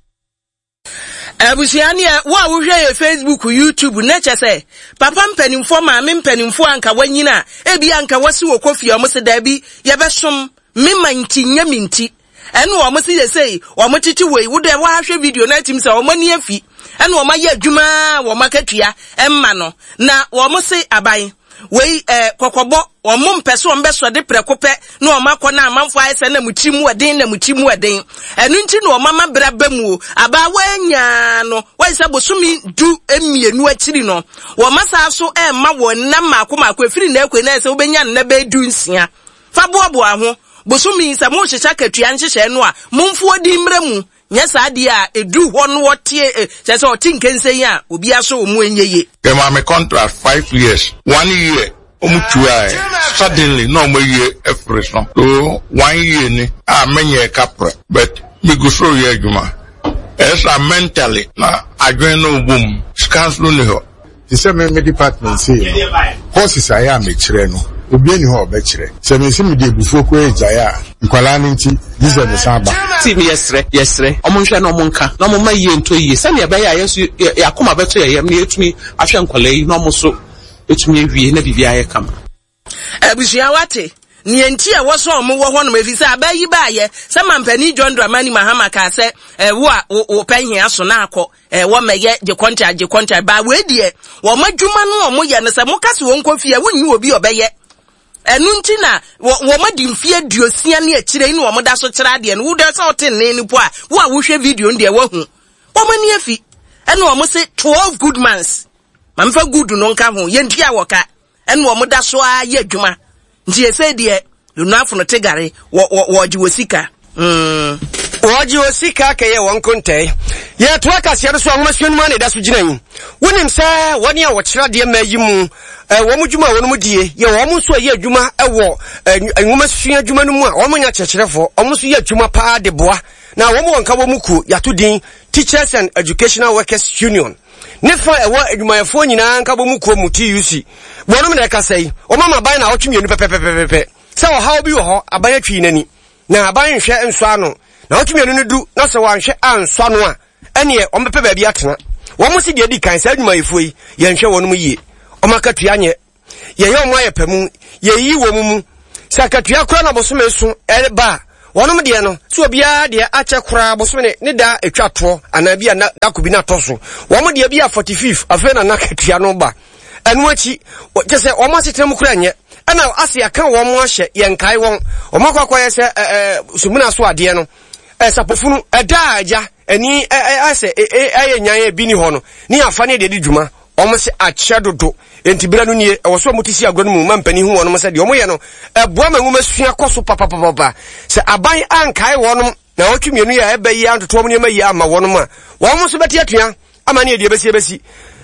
Abusua neɛ, wo a wohwɛ yɛ Facebook, YouTube, na kyɛ sɛ papa mpanimfoɔ, maame mpanimfoɔ anka wanyina a, ebi anka wasi wɔ kɔfie a ɔmo se daabi, yɛbɛsom me ma nti nyɛ me nti. Ɛno ɔmo se yɛsei, ɔmo tete wei, wo dɛ wahwɛ video na atim sɛ ɔmo ani afi. Ɛno ɔmo ayɛ adwuma a wɔn akatua ɛmma no. Na wɔn se aban, wei eh, kɔkɔbɔ, wɔn mpɛ so wɔn bɛsɔ de prɛko pɛ na wɔn akɔ na amanfoɔ ayɛ sɛ na mo tiri mu ɛden na mo tiri mu ɛden. Ɛno nti na wɔn ama bra ba mu o. Abaawa nyaa no, wɔyɛ sɛ bosome du mmienu akyiri no, wɔn asa so ɛmma wɔn nna mmaako mmaako efiri na ekwe na ɛsɛ wobɛnya nna bɛyɛ du nsia. Fa boaboa ho. Bosome sɛ mo hyehyɛ akatua nhyehyɛ no a, momfoɔ di mmerɛ mu. Nyɛ saa deɛ a ɛduru hɔ no wɔte, kyerɛ sɛ ɔte nkensen yi a, obi aso ɔmu ɛnyɛ yie. Yɛmaa me contract five years, one year, ɔmu tuaeɛ. Suddenly, na ɔmo awie afiri so. So, one year ni a menyɛ kaprɛ, but megu so yɛ adwuma. Ɛyɛ saa mentally, na adwene no bɔ mu, sika nso nni hɔ. Te sɛ me me department sei no, courses a ɛyɛ a mekyerɛ no, obi ani hɔ a ɔbɛkyerɛ. Sɛ me nsi mede abufuo koraa agyae a, nkwalaa no nti, gye sɛ mesan ba. Ti mi yɛsrɛ, yɛsrɛ, ɔmo nhwɛ na ɔmo nka, na ɔmo mma yie ntɔ yie, sɛnea ɛbɛyɛ a yɛn nso yɛ yɛ akoma bɛto yɛ yam na yɛtumi ahwɛ nkwalaa yi na ɔmo nso etumi awie na biribi ayɛ kama. Abusua wate, nea nti a ɛwɔ sɛ ɔmo wɔ hɔnom efi sɛ aba yi baayɛ sɛ mampanin John Dramani Mahama kaa sɛ ɛwo a wo pɛ hia so na akɔ ɛwɔ mɛyɛ gye contract gye contract ba wei deɛ wɔn adwuma no ɔmo yɛ no sɛ mo ka sɛ wɔn nkɔ fie a wonnyi obi ɔbɛyɛ. Ɛno nti na wɔn adi mfeɛ aduosia ne akyire yi na wɔn da so kyerɛ adeɛ no. Wo deɛ sɛ ɔte nne no po a, wo a wohwɛ video no deɛ woahu. Wɔn ani afi. Ɛna wɔn se twelve good months. Mamefa good no nka ho. Yɛntua wɔ ka. Ɛna wɔn da so ara yɛ adwuma. Nti yɛsɛ deɛ onuafo no te gare wɔ wɔ wɔgye wɔ sika. Mm. Wɔgye wɔ sika kɛyɛ wɔn nkontɛe. Yɛtoa kaseɛ no so a nwomasua no mu a na ɛda so gyina yi. Wonim sɛ wɔne a wɔkyerɛ adeɛ mma yi mu, wɔn dwuma a wɔn die, yɛ wɔn nso a yɛ adwuma wɔ nwomasua adwuma no mu a wɔn nyɛ akyerɛkyerɛfoɔ, wɔn nso yɛ adwuma paa de boa. Na wɔn wɔ nka wɔn mu kuo, yɛato din Teachers and Educational Workers Union. Ne fa ɛwɔ adwumayɛfoɔ nyinaa nka wɔn mu kuo mu T U C. Wɔnom na ɛkasa yi, wɔn ama aban na awɔtwe mmienu pɛpɛpɛpɛpɛ. Sɛ ɔhaw bi wɔ hɔ, aban atwi n'ani. Na aban nhwɛ nsɔ ano. Na awɔtwe mmienu no du, na sɛ wɔanhwɛ ansɔ ano a, ɛneɛ wɔn bɛpɛ baabi atena. Wɔn si deɛ di kan saa adwumayɛfoɔ yi, yɛnhwɛ wɔn mu yie. Wɔn akatua nyɛ. Yɛyɛ wɔn ayɛ pɛ mu, yɛyiyi wɔn mu. Sɛ Sɛ akatua koraa na bosome so ɛreba a, wɔnom deɛ no, sɛ obiara deɛ akyɛ koraa bosome ne, ne da ɛtwa toɔ anaa bi a na dako bi na atɔ so. Wɔn deɛ bi a forty fifth afei na n'akatua no ba. Ɛno akyi, kyɛ sɛ wɔn asetena mu koraa nyɛ. Ɛna ase aka wɔn ahyɛ, yɛnkae wɔn. Wɔn akɔ akɔyɛ sɛ ɛɛ sumina so adeɛ no. Ɛsapofunu, ɛda a agya, ani ɛsɛ ɛyɛ nyan ebi ni hɔ no, ne afa ne deɛ di dwuma. Wɔn se akyɛ dodo. Enti berɛ no nie, ɛwɔ so wɔn ti si agorɔ no mu ma mpanin hu wɔn sɛ deɛ wɔn yɛ no, ɛboa ma nwoma sua kɔ so papapapa. Sɛ aban ankae wɔn na wɔtwe mmienu yi a ɛbɛ yi antoto wɔn nneɛma yi ama wɔn a, wɔn nso bɛte atua ama ne deɛ bɛsi bɛsi.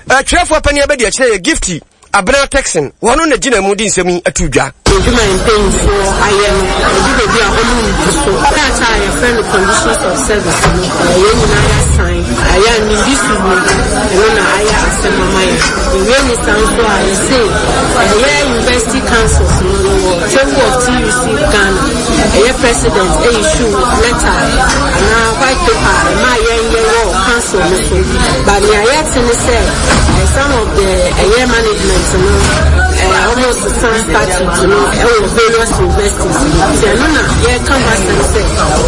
Ɛtwerɛfoɔ panin abɛdi akyerɛ yɛ Gifty Abena Texan, wɔn na gyina mu de nsɛm yi ato dwa. Adwuma mpanyinfoɔ ayɛ no, ɛdu baabi a wɔn ndu so. Krataa a yɛfrɛ no conditions of service no, yɛn nyinaa yɛasan. Ayɛ a nimbi so mu, ɛno na ayɛ asɛm ama yɛn. Ewie ne saa nso a, yɛse ɛyɛ university councils no no wɔ Table of T U C Ghana. Ɛyɛ president issue letter anaa white paper a ɛma yɛn yɛwɔ council no so. But nea yɛte ne sɛ, some of the ɛyɛ management no, almost some statute no ɛwɔ various universities. Nti ɛno na yɛka ho asɛm sɛ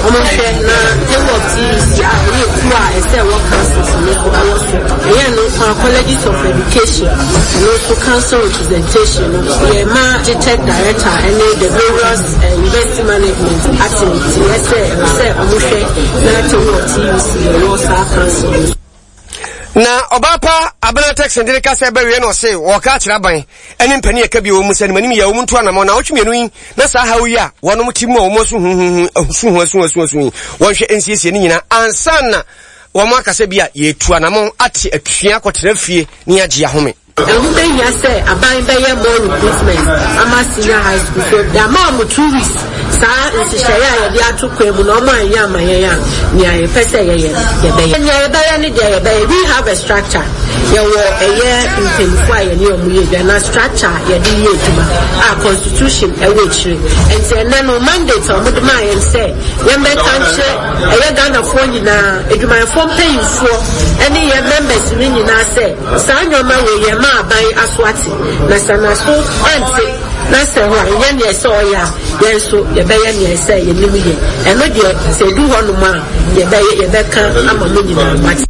ɔmohwɛ na Table of T U C a ɛyɛ kuo a ɛsɛ ɛwɔ councils no so ɛwɔ so. Ɛyɛ no nko a colleges of education ɛno nso council representation no yɛma GTEC director ɛne the various uh, university management ate nti ɛsɛ ɛsɛ ɔmohwɛ na Table of T U C ɛwɔ saa council no. Na ɔbaa Abena Texan de ka sɛ bɛwie no ɔse wɔka akyerɛ aban ɛne mpanin ɛka bi wɔ mu sɛ nimanim yɛ wɔn nto anamɔ na ɔtwe mmienu yi na saa haw yi a wɔnom ti mu a wɔn asu huhuhu su ho asu asu asu yi wɔnhwɛ nsiesie ne nyinaa ansa na wɔn akasa bi a yɛtu anamɔ ate atua akɔtena fie ne agye ahome. Ɛho bɛhia sɛ aban bɛyɛ more recruitment ama senior high school so yɛama wɔn two weeks saa nhyehyɛeɛ a yɛde ato kwan mu na wɔn anyɛ ama yɛn a nea yɛpɛ sɛ yɛyɛ yɛbɛyɛ. Nea yɛbɛyɛ ne deɛ yɛbɛyɛ, we have a structure. Yɛwɔ ɛyɛ mpanyinfoɔ a yɛne wɔn yɛ adwuma na structure a yɛde yɛ adwuma a constitution ɛwɔ akyire. Nti ɛnɛ no mandate a wɔde maa yɛn sɛ yɛmmɛka nkyerɛ ɛyɛ Ghanafoɔ nyinaa, adwumayɛfoɔ mpanyinfoɔ ɛne yɛn members no nyinaa sɛ saa nneɛma wɔ yɛn ma aban aso ate na sɛ n'aso ante na sɛ hɔ a ɛnyɛ nea ɛsɛ ɔyɛ a yɛn nso yɛbɛyɛ nea ɛsɛ yɛnim yɛ. Ɛno deɛ sɛ edu hɔnom a yɛbɛyɛ yɛbɛka ama mo nyinaa mate.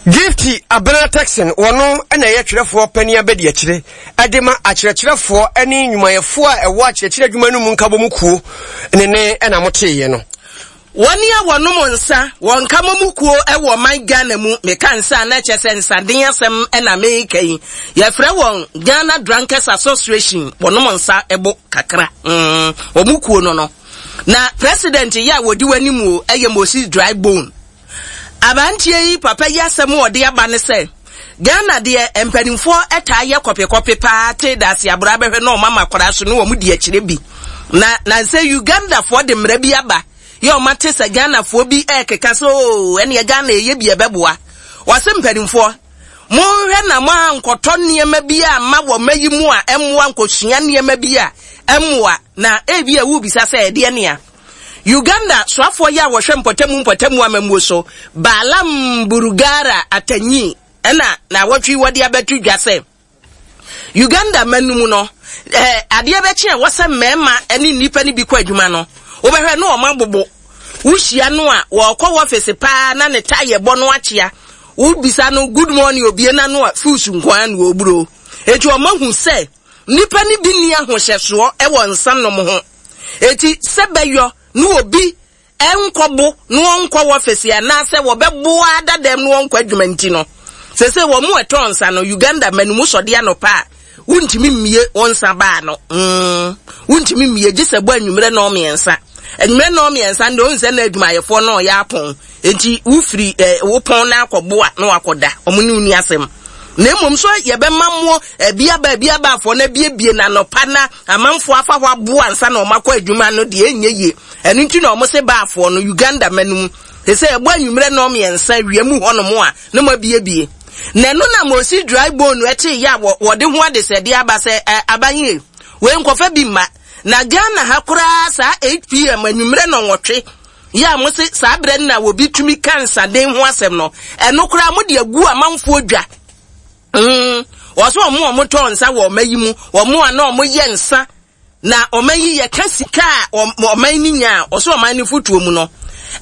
Gifty Abena Texan wɔno na ɛyɛ twerɛfoɔ panin abɛdi akyire ɛde ma akyerɛkyerɛfoɔ ne nnwumayɛfoɔ a ɛwɔ akyerɛkyerɛ adwuma no mu nkabom kuo ne ne ɛna moteeɛ no. Wɔn a wɔnom nsa wɔn nkabom kuo ɛwɔ man Ghana mu meka nsa na kyerɛ sɛ nsaden asɛm ɛna meka yi yɛfrɛ wɔn Ghana Drunkards Association wɔnom nsa ɛbo kakra mm wɔn kuo no no na president yɛ a wɔdi w'anim o ɛyɛ Moses Drybone. Abantie yi papa yi asɛm wɔde aba ne sɛ Ghana deɛ mpanimfoɔ ɛtaa yɛ kɔpekɔpe paa te daase abora bɛhwɛ na ɔma makora so ne wɔn di akyire bi na na sɛ Ugandafoɔ de mmara bi aba yɛ ɔma te sɛ Ghanafoɔ bi ɛkeka so ɛne Ghana ɛyɛ bi ɛbɛboa wɔse mpanimfoɔ monhwɛ na mo ankɔtɔ nneɛma bi a ma wɔ mayi mu a ɛmmoa nkɔsua nneɛma bi a ɛmmoa na ebi a wubisa sɛ ɛdeɛ nea Uganda soafoɔ yi a wɔhwɛ mpɔtamu mpɔtamu amamuo so Balaam Burugara Atanyi ɛna na wɔtwe wɔde abɛto dwa sɛ Uganda manum no eh, adeɛ bɛkye a wɔsɛ mmarima ne nnipa no bi kɔ adwuma no wobɛhwɛ no ɔma bobo wohyia no a wɔkɔ wɔfese paa na ne tae bɔ no akyea wobisa no good morning obie na no a fusu nkoa na oburo eti ɔma hu sɛ nnipa no bi ni ahohyɛsoɔ ɛwɔ nsa nom ho eti sɛ bɛyɔ no obi ɛnkɔbo no ɔnkɔ wɔfese anaasɛ wɔbɛboa dadam no ɔnkɔ adwuma nti no sɛ sɛ wɔn mu ɛtɔ nsa no Uganda manumu sɔde anɔpa a wontumi mmie wɔn nsa baa no mm wontumi mmie gye sɛ bɔ anwummerɛ na ɔmmiɛnsa anwummerɛ na ɔmmiɛnsa no ɔnsɛ na adwumayɛfoɔ na ɔyɛ apɔn enti wofiri ɛɛ wopɔn na akɔboa na wakɔda ɔmo ne woni asɛm na mmom so yɛbɛma mo ebi aba ebi aba afɔ na biebie na anɔpa na amanfoɔ afa hɔ aboa nsa na ɔmo akɔ adwuma no deɛ ɛnyɛ yie ɛno nti na ɔmo se baafoɔ no Uganda manum sɛ ɛbɔ anwummerɛ na ɔmmiɛnsa wiem hɔnom a na mo abiebie na ɛno na Moses Drybone ɛte yɛ a wɔde ho adesɛdeɛ aba sɛ aban wei nkɔfa bi mma na Ghana ha koraa saa eight p m anwummerɛ na ɔnwɔtwe yɛ a mo se saa berɛ no na wɔbi tumi ka nsaden ho asɛm no ɛno koraa mo de agu amanfoɔ dwa mm wɔso ɔmo ɔmo tɔ nsa wɔ ɔma yi mu ɔmo a na ɔmo yɛ nsa Na ɔman yi yɛka sika a ɔman no nya a, ɔsɛ ɔman no fotuo mu no,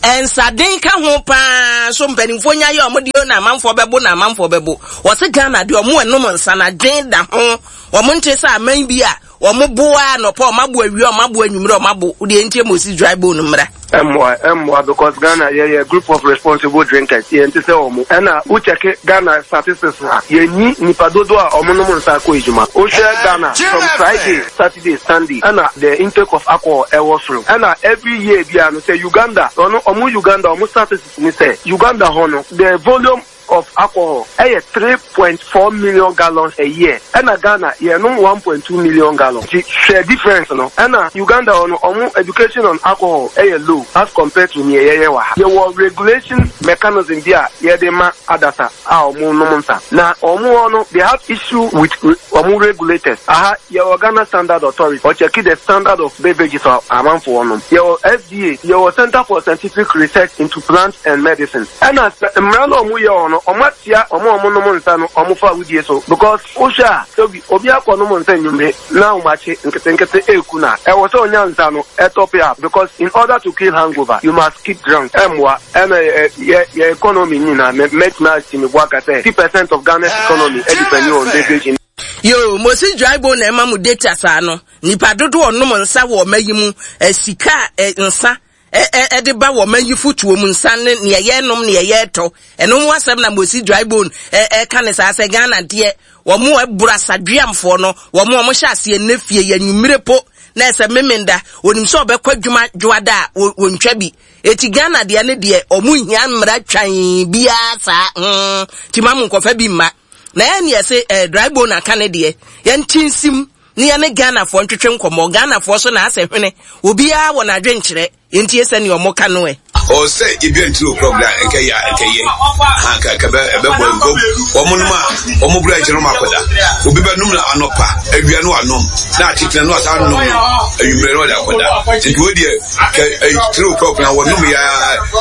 nsaden ka ho paa so mpanimfoɔ nya yɛ ɔmo deɛ na amanfoɔ bɛbo na amanfoɔ bɛbo. Wɔse Ghana deɛ ɔmo ɛnom nsa na adwen da ho. Ɔmo nte sɛ aman bi a ɔmo bo a nɔpɔ ɔmo abo awia ɔmo abo anwummerɛ ɔmo abo. Wodeɛ ntie Moses dry bone mmra. Ɛmmoa, ɛmmoa because Ghana yɛyɛ group of responsible drinkers, yɛnte sɛ wɔn. Ɛna wo check Ghana statistics a, yɛnni nnipa dodoɔ a wɔn nom nsa kɔ adwuma. Wo hwɛ Ghana from Friday, Saturday, Sunday ɛna the intake of alcohol ɛwɔ soro. Ɛna every year biara no sɛ Uganda, ɔno wɔn Uganda wɔn statistics ne sɛ Uganda hɔ no the volume of alcohol ɛyɛ three point four million gallons a year, ɛna Ghana yɛnom one point two million gallons. Nti hwɛ difference no. Ɛna Uganda hɔ no ɔmo education on alcohol ɛyɛ low as compared to nea yɛyɛ wɔ ha. Yɛwɔ regulation mechanism bi a yɛde ma adasa a ɔmo nom nsa, na ɔmo hɔ no they have issue with ɔmo regulators. Aha yɛwɔ Ghana Standard Authority, ɔkyɛki the standard of beverages a amanfoɔ nom. Yɛwɔ F D A, yɛwɔ Center for Scientific Research into Plants and Medicine. Ɛna sɛ mmara no ɔmo yɛ wɔ no, ɔmo atia ɔmo a ɔmo nom nsa no ɔmo fa awudie so, because wohwɛ a sɛbi obi akɔ nom nsa nnwumre na ɔmakye nketenkete eku na ɛwɔ sɛ ɔnya nsa no ɛtop up, because in order to kill hangover you must keep drunk. Ɛmmoa ɛna yɛ yɛ economy nyinaa mɛtena asi me bo aka sɛ fifty percent of Ghana's economy ɛdepend on beverage. Yo, Moses dry bone na ɛma mo data saa no. Nipa dodo ɔnom nsa wɔ ɔma yi mu, sika nsa ɛde ba wɔ ɔma yi fotuo mu nsa ne nea yɛnom nea yɛtɔ. Ɛno ho asɛm na Moses dry bone ɛka ne saa sɛ Ghana deɛ wɔn ɛboro asadweamfoɔ no, wɔn a wɔhyɛ aseɛ ne fie yɛ nwumire po na ɛsɛ memenda onim sɛ ɔbɛkɔ adwuma dwoada a wɔntwa bi. Eti Ghana deɛ ne deɛ ɔmo hia mmara twan biara saa. Mm, ti ma mo nkɔfa bi mma. Na yɛn yɛ se eh, dry bone aka ne deɛ yɛn nsim ne yɛn ne Ghanafoɔ ntwetwe nkɔmmɔ. Ghanafoɔ so na asɛ hwene obiara wɔ n'adwenkyerɛ nti sɛ ne ɔmo ka no ɛ. O sɛ ebi ntiri okura nkɛ ya nkɛ yɛ ha ka ka bɛ bɛ bɔ nko wɔn nom a wɔn bura nkyɛn wɔn akɔda obi bɛ nom na anɔpa awia no anom na atetena no asa nom no awimmerɛ no ɔde akɔda nti wo deɛ kɛ tiri okura wɔn nom ya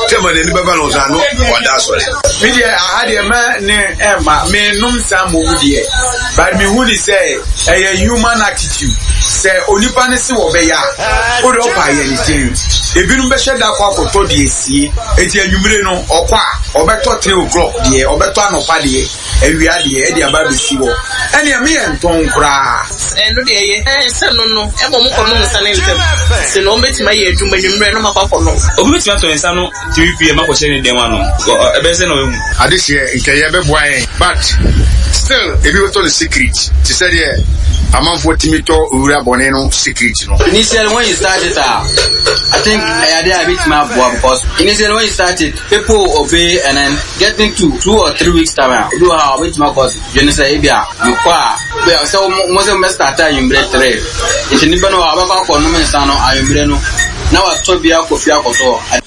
tɛma n'ani bɛba no nsa no wada asɔre. Mi deɛ aha deɛ mɛ ne ɛma mi nom nsa mo mu deɛ but mi hu ni sɛ ɛyɛ human attitude sɛ onipa ne se wɔ bɛyɛ a o de ɔpa yɛ ne den ebinom bɛhyɛ da akɔ akɔtɔ deɛ sie eti anwummere no ɔkɔ a ɔbɛtɔ three o'clock deɛ ɔbɛtɔ anɔpa deɛ awia deɛ ɛde aba abɛsi hɔ ɛnea mi yɛ ntɔn koraa. Ɛno deɛ yɛ ɛsɛ no no ɛbɔ mo kɔ nom nsa ne ntɛm sɛ na wɔn bɛtumi ayɛ adwuma anwummerɛ no ma kɔ akɔ nom. Obi bɛtumi atɔ nsa no three p m akɔhyɛ ne dɛm ano ɛbɛyɛ sɛ na ɔyɛ mu. Adehyɛ nkɛyɛ bɛboa yɛn but still ebi bɛtɔ no secret te sɛ deɛ amanfoɔ tumi tɔ owura bɔne no secret no. Initially when you start it, uh, I think ɛyɛ a bit more because initially when you start it, people obey and then getting to two or three weeks time, you do how bit more cause you know say ebia you kwa so mo say mo start anwummerɛ three nti nipa no abɛkɔ akɔ nom nsa no anwummerɛ no na watɔ bi akɔ fie akɔtɔ.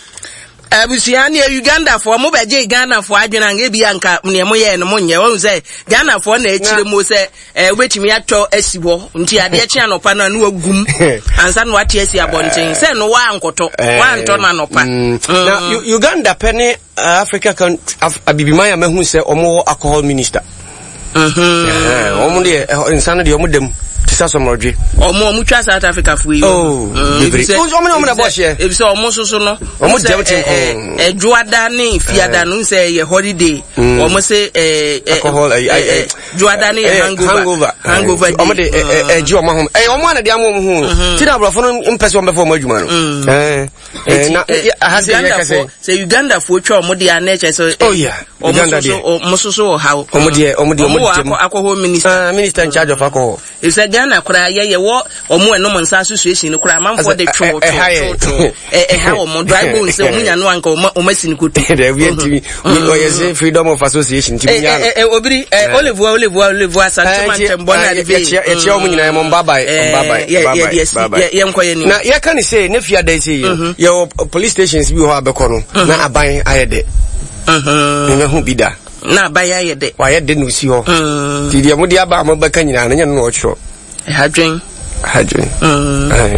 Abusua ne Ugandafoɔ mo bɛgye Ghanafoɔ adwene anka ebi anka nea mo yɛ no mo nyɛ wɔn sɛ Ghanafoɔ na akyire mo sɛ ɛɛ wobɛtumi atɔ asi hɔ nti adeɛ kye anɔpa no ano agum ansa na wate asi abɔnten sɛ no wankɔtɔ wantɔ no anɔpa. Na Uganda pɛ ne Africa country abibiman a mahu sɛ wɔn wɔ alcohol minister. Wɔn deɛ nsa no deɛ wɔn dɛm. Tisa sọmọdwe. Ọmọ ọmọ twa South Africa fo yi. Oh, bebree. Ọmọ ní ọmọ na bọ ṣe. Ebi sẹ ọmọ soso no. Ọmọ dẹm ti nkọ. Ẹdwoada ne fiada no sẹ yẹ holiday. Ọmọ sẹ ẹ alcohol ẹ ẹ dwoada ne yẹ hangover. Hangover day. Ọmọ de ẹ ẹ jí ọmọ ahom. Ẹ ọmọ àná di amọ ọmọ ho. Ti na aborɔfo no mpɛ sɛ ɔmo bɛfɔ ɔmo adwuma no. Ɛ na aha sɛ yɛ kɛsɛ. Sɛ Uganda fo twa ɔmo de anɛ kyɛ sɛ. Oh yeah. Uganda deɛ. Ɔmo soso wɔ ha. Ɔmo deɛ ɔmo deɛ ɔmo dɛm. Ɔmo wɔ alcohol minister. Ah, minister in charge of alcohol. Efisɛ Ghana koraa yɛ yɛ wɔ ɔmo ɛnom nsa association no koraa amanfoɔ de two two two ɛha ɔmo dry bone sɛ ɔmo nya no anka ɔmo ɔmo asi ne koto. Dɛbi ntumi ɔyɛ sɛ freedom of association ntumi nya no. Ɛ ɛ obiri ɛ olive wa olive wa olive wa asante ntɛm bɔ na de bi. Yɛkyia ɔmo nyinaa mo bye bye bye bye yɛ yɛ yɛ yɛ yɛ nkɔ yɛ ni. Na yɛka ne sɛ ne fia da se yɛ yɛwɔ police stations bi wɔ hɔ a bɛkɔ no na aban ayɛ dɛ. Ne ho bi da. Na aban ayɛ dɛ. Wayɛ dɛ na osi hɔ. Nti deɛ mode aba a mobɛka nyinaa no nyɛ no na ɔtwerɛ. Ɛha dwen. Ɛha dwen.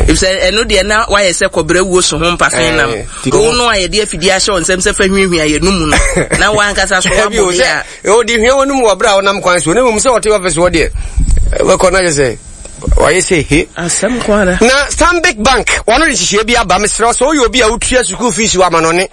Efisɛ ɛno deɛ na wayɛ sɛ kɔbrɛ wuo so ho mpafe nam. Wo no a yɛde afidie ahyɛ wo nsɛm sɛ fa hwiahwia yɛ no mu no. Na wankasa so wabɔ bi a. Ɔde hwia wɔ no mu wɔ berɛ a wonam kwan so. Na mmom sɛ ɔte ɔfis hɔ deɛ, wɛkɔ na kyɛ sɛ Wayɛ sɛ he. Asɛm nko ara. Na Stanbic Bank, wɔn de nhyehyɛeɛ bi aba. Mesrɛ wo sɛ woyɛ obi a wotua sukuu fees wɔ amanɔne,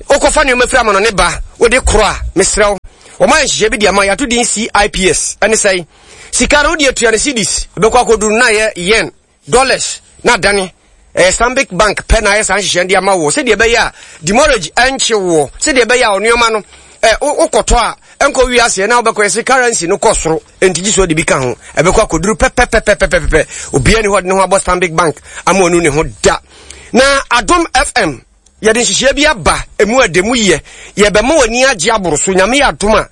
wokɔfa nneɛma firi amanɔne ba, wode korɔ a, mesrɛ wo, wɔn ayɛ nhyehyɛeɛ bi de ama, yɛato din C I P S. Ɛne sɛn? Sika no wode atua no cedis, ɛbɛkɔ akɔduru na ayɛ yen, dollars, na adane. Ɛyɛ Stanbic Bank pɛ na ayɛ saa nhyehyɛeɛ de ama wo, sɛdeɛ ɛbɛyɛ a demurrage ɛnkye woɔ, sɛdeɛ ɛbɛyɛ a ɔnneɛma no ɛ wokɔtɔ a ɛnkɔ wiase na wobɛkɔ yɛsɛ currency no kɔ soro, enti gye so de bi ka ho, ɛbɛkɔ akɔduru pɛpɛpɛpɛpɛpɛ. Obiara ni hɔ de ne ho abɔ Stanbic Bank ama ɔnu ne ho da. Na Adom F M yɛde nhyehyɛeɛ bi aba, emu ɛde mu yɛ, yɛbɛma w'ani agye aboro so. Nyame yɛ adom a,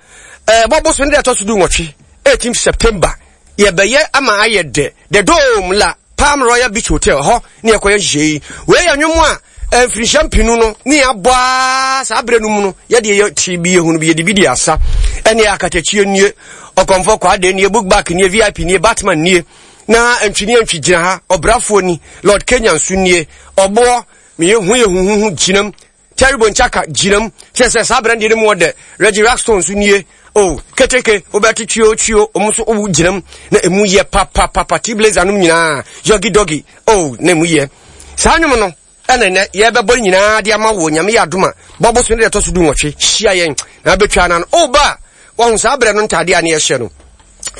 ɛɛ bɔbɔ so ne deɛ ɛtɔ so du nwɔtwe, eighteen September, yɛbɛyɛ ama ayɛ dɛ. The Dome, La Palm Royal Beach Hotel hɔ ne yɛkɔyɛ nhyehyɛeɛ yi. Wei yɛ nnwom a mfirinhyia mpinu no ne yɛabɔ a saa berɛ no mu no, yɛde yɛ ti bi yɛhunu bi, yɛde bi di asa. Ɛne Akatakyie nie, Ɔkɔmfɔ Kwade nie, Book Back nie, V I P nie, Batman nie, na Ntwini Antwi gyina ha, Ɔbrafoɔ ni, Lord Kenya nso nie, Ɔboɔ meyɛ hu yɛ huhuhu gyinam, Terrible Nchaka gyinam, kyerɛ sɛ saa berɛ no deɛ no mu ɔdɛ. Reggie Rockstone nso nie o, Keteke wobɛte twio twio, ɔmo nso wowu gyinam na emu yɛ papapapa. T Blazer nom nyinaa, Yɔgi Dɔgi o, na emu yɛ. Saa nnwom no ɛna nnɛ yɛbɛbɔ nyinaa de ama wo. Nyame yɛ adom a, bɔbɔ so ne deɛ ɛtɔ so du nwɔtwe hyia yɛn na abɛtwa na no ɔba a wahu saa berɛ no ntadeɛ a ne yɛhyɛ no.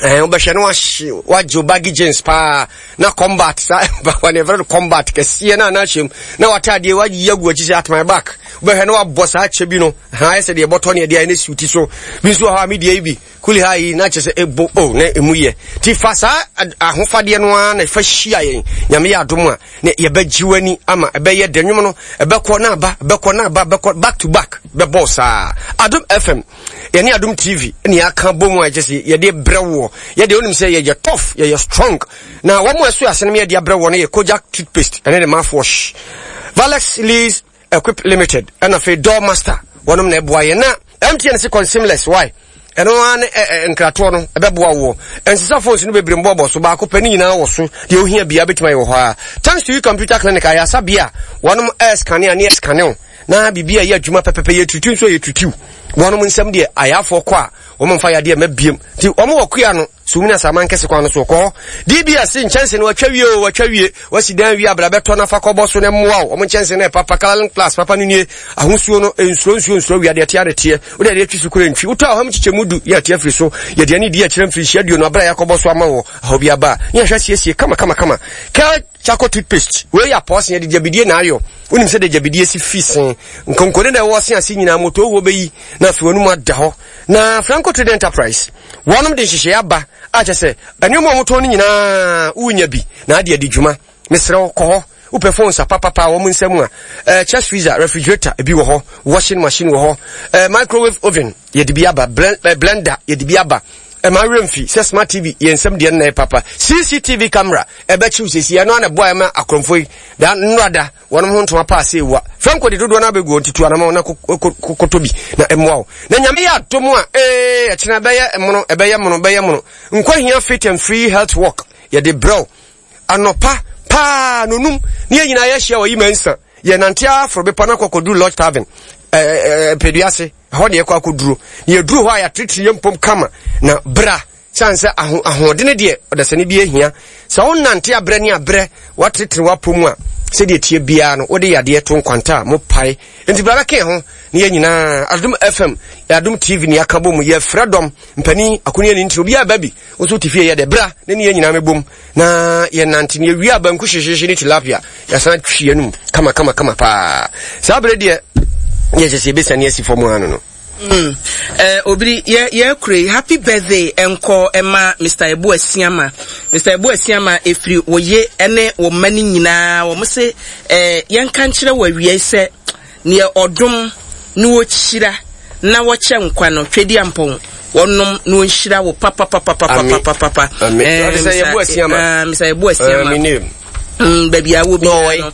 Ɛɛ wobɛhwɛ no, wahye wagye wo baggy jeans paa na combat saa wane yɛfrɛ no combat kɛseɛ na anahyɛ mu na watadeɛ wayi agu akyi sɛ at my back. Wobɛhwɛ no, wabɔ saa kyɛ bi no ha, ayɛ sɛ deɛ ɛbɔtɔ ne ɛdeɛ ayɛ ne si wo ti so bi nso wɔ hɔ a medeɛ yi bi kuli ha yi na kyerɛ sɛ ɛbo o na ɛmu yɛ. Nti fa saa ahofadeɛ no ara na fa hyia yɛn. Nyame yɛ adom a, ne yɛbɛgye w'ani ama ɛbɛyɛ dɛ. Nnwom no ɛbɛkɔ na aba, ɛbɛkɔ na aba, ɛbɛkɔ back to back, bɛbɔ saa. Adom F M yɛne Adom T V ne yɛaka bɔ mu a ɛkyɛ sɛ yɛde brɛ woɔ. Yɛde wonim sɛ yɛyɛ tough, yɛyɛ strong, na wɔn a ɛso ase no yɛde abrɛ woɔ no yɛ Kojak toothpaste ɛne ne mouthwash, Valex Lease Equip Limited, ɛna afei Door Master wɔnom na ɛboa yɛn, na M T N se consimless why ɛno ara ne ɛ nkratoɔ no ɛbɛboa woɔ. Nsesa phones no bebree mbɔbɔ so, baako pɛ ne nyinaa wɔ so. Deɛ ohia bia bɛtumi ayɛ wɔ hɔ a. Thanks To You Computer Clinic, ayasa bia wɔnom ɛscanne a ne ɛscanne o na biribi a ɛyɛ adwuma pɛpɛpɛ, yɛ tutu nso yɛ tutu wɔnom nsɛm deɛ ayafoɔ kɔ a wɔn mfa yadeɛ ma biem. Nti wɔn wɔ kua no sumina saman kɛse kwan no so kɔ hɔ. D B S nkyɛnse no watwa wie o, watwa wie, wasi dan wie abira bɛtɔ nafa kɔbɔ so na mmoa o. Wɔn nkyɛnse no yɛ papa. Colour Plus papa no nie, ahosuo no nsuro nsuo nsuro wia deɛ tea de teɛ wode adeɛ twi so kura ntwi wotɔ ahom kyekyɛ mu du yɛ ateɛ firi so. Yɛde ani di akyerɛ mfirihyia aduonu abira yɛakɔbɔ so ama wɔ ahɔ bi aba ne yɛhwɛ siesie kama kama kama. Kel Charcoal toothpaste wei yɛ apɔɔse, yɛde gyabidie na ayɔ. Wonim sɛ de gyabidie si fi sen nkonkone na ɛwɔ se ase nyinaa moto wɔ bɛyi na afei wɔn mu ada hɔ. Na Franco Trade Enterprise wɔnom de nhyehyɛeɛ aba a kyɛ sɛ nneɛma a wɔtɔn no nyinaa wonya bi na ade adi dwuma. Mesrɛ wo, kɔ hɔ. Wopɛ phones a papapa a wɔn nsam a uh, chest freezer, refrigerator ebi wɔ hɔ, washing machine wɔ hɔ, uh, microwave oven yɛde bi aba, blend, uh, blender yɛde bi aba. Ɛma werɛ mfi sɛ smart T V yɛn nsɛm deɛ no na yɛ papa. C C T V camera ɛbɛkyew sɛsi ɛno ana boa ɛma akorɔmfo yi da nnora wɔnom ho ntoma paa sɛ ewa. Franco de dodoɔ no abɛgu ntutu anama na kɔtɔ bi na ɛmmoa wo. Na Nyame yɛ adom a, ee ɛkyena ɛbɛyɛ mono, ɛbɛyɛ mono, ɛbɛyɛ mono. Nkwa Fit and Free Health Walk yɛde brɛw anɔpa paa nonum ne yɛn nyinaa yɛahyia wɔ yi mansa. Yɛnante aforo bepɔ no akɔkɔduru Lodge Tavern ɛɛ Mpɛduase hɔ ne yɛkɔ akɔduro. Na yɛduru hɔ a, yɛateretere yɛn mpom kama na bra sane sɛ aho ahoɔdene deɛ ɔdasani bi ahia sɛ wonante abrɛ ne abrɛ woateretere w'apɔ mu a, sɛdeɛ tie biara no wode yadeɛ to nkwanta a mopae. Nti bra bɛka ho ne yɛn nyinaa. Adom F M, Adom T V ne yɛaka bɔ mu. Yɛfrɛ dɔm mpani akoni ani ntiri obiara ba bi. Wo nso wote fie yɛ dɛ bra ne ne yɛn nyinaa mɛbom na yɛnante ne yɛwie a, banku hyehyehye ne tilapia yɛsan twe anum kama kama kama paa. Saa berɛ deɛ yɛhyɛ sɛ yɛbɛsiane asi fam ano no. Mm. Uh, obiri yɛ yɛ kure happy birthday nkɔ ɛma Mister Ebu Asiama. Mister Ebu Asiama, efiri wɔye ɛne wɔn mma ne nyinaa, wɔn se ɛɛ yɛnka nkyerɛ wɔ awia yi sɛ neɛ ɔdom ne wɔkyira na wɔkyɛ nkwa no twɛdi ampɔn wɔnom na wɔnhyira wo papapapapapapapa. Mister Ebu Asiama, baabi a wɔ biara no,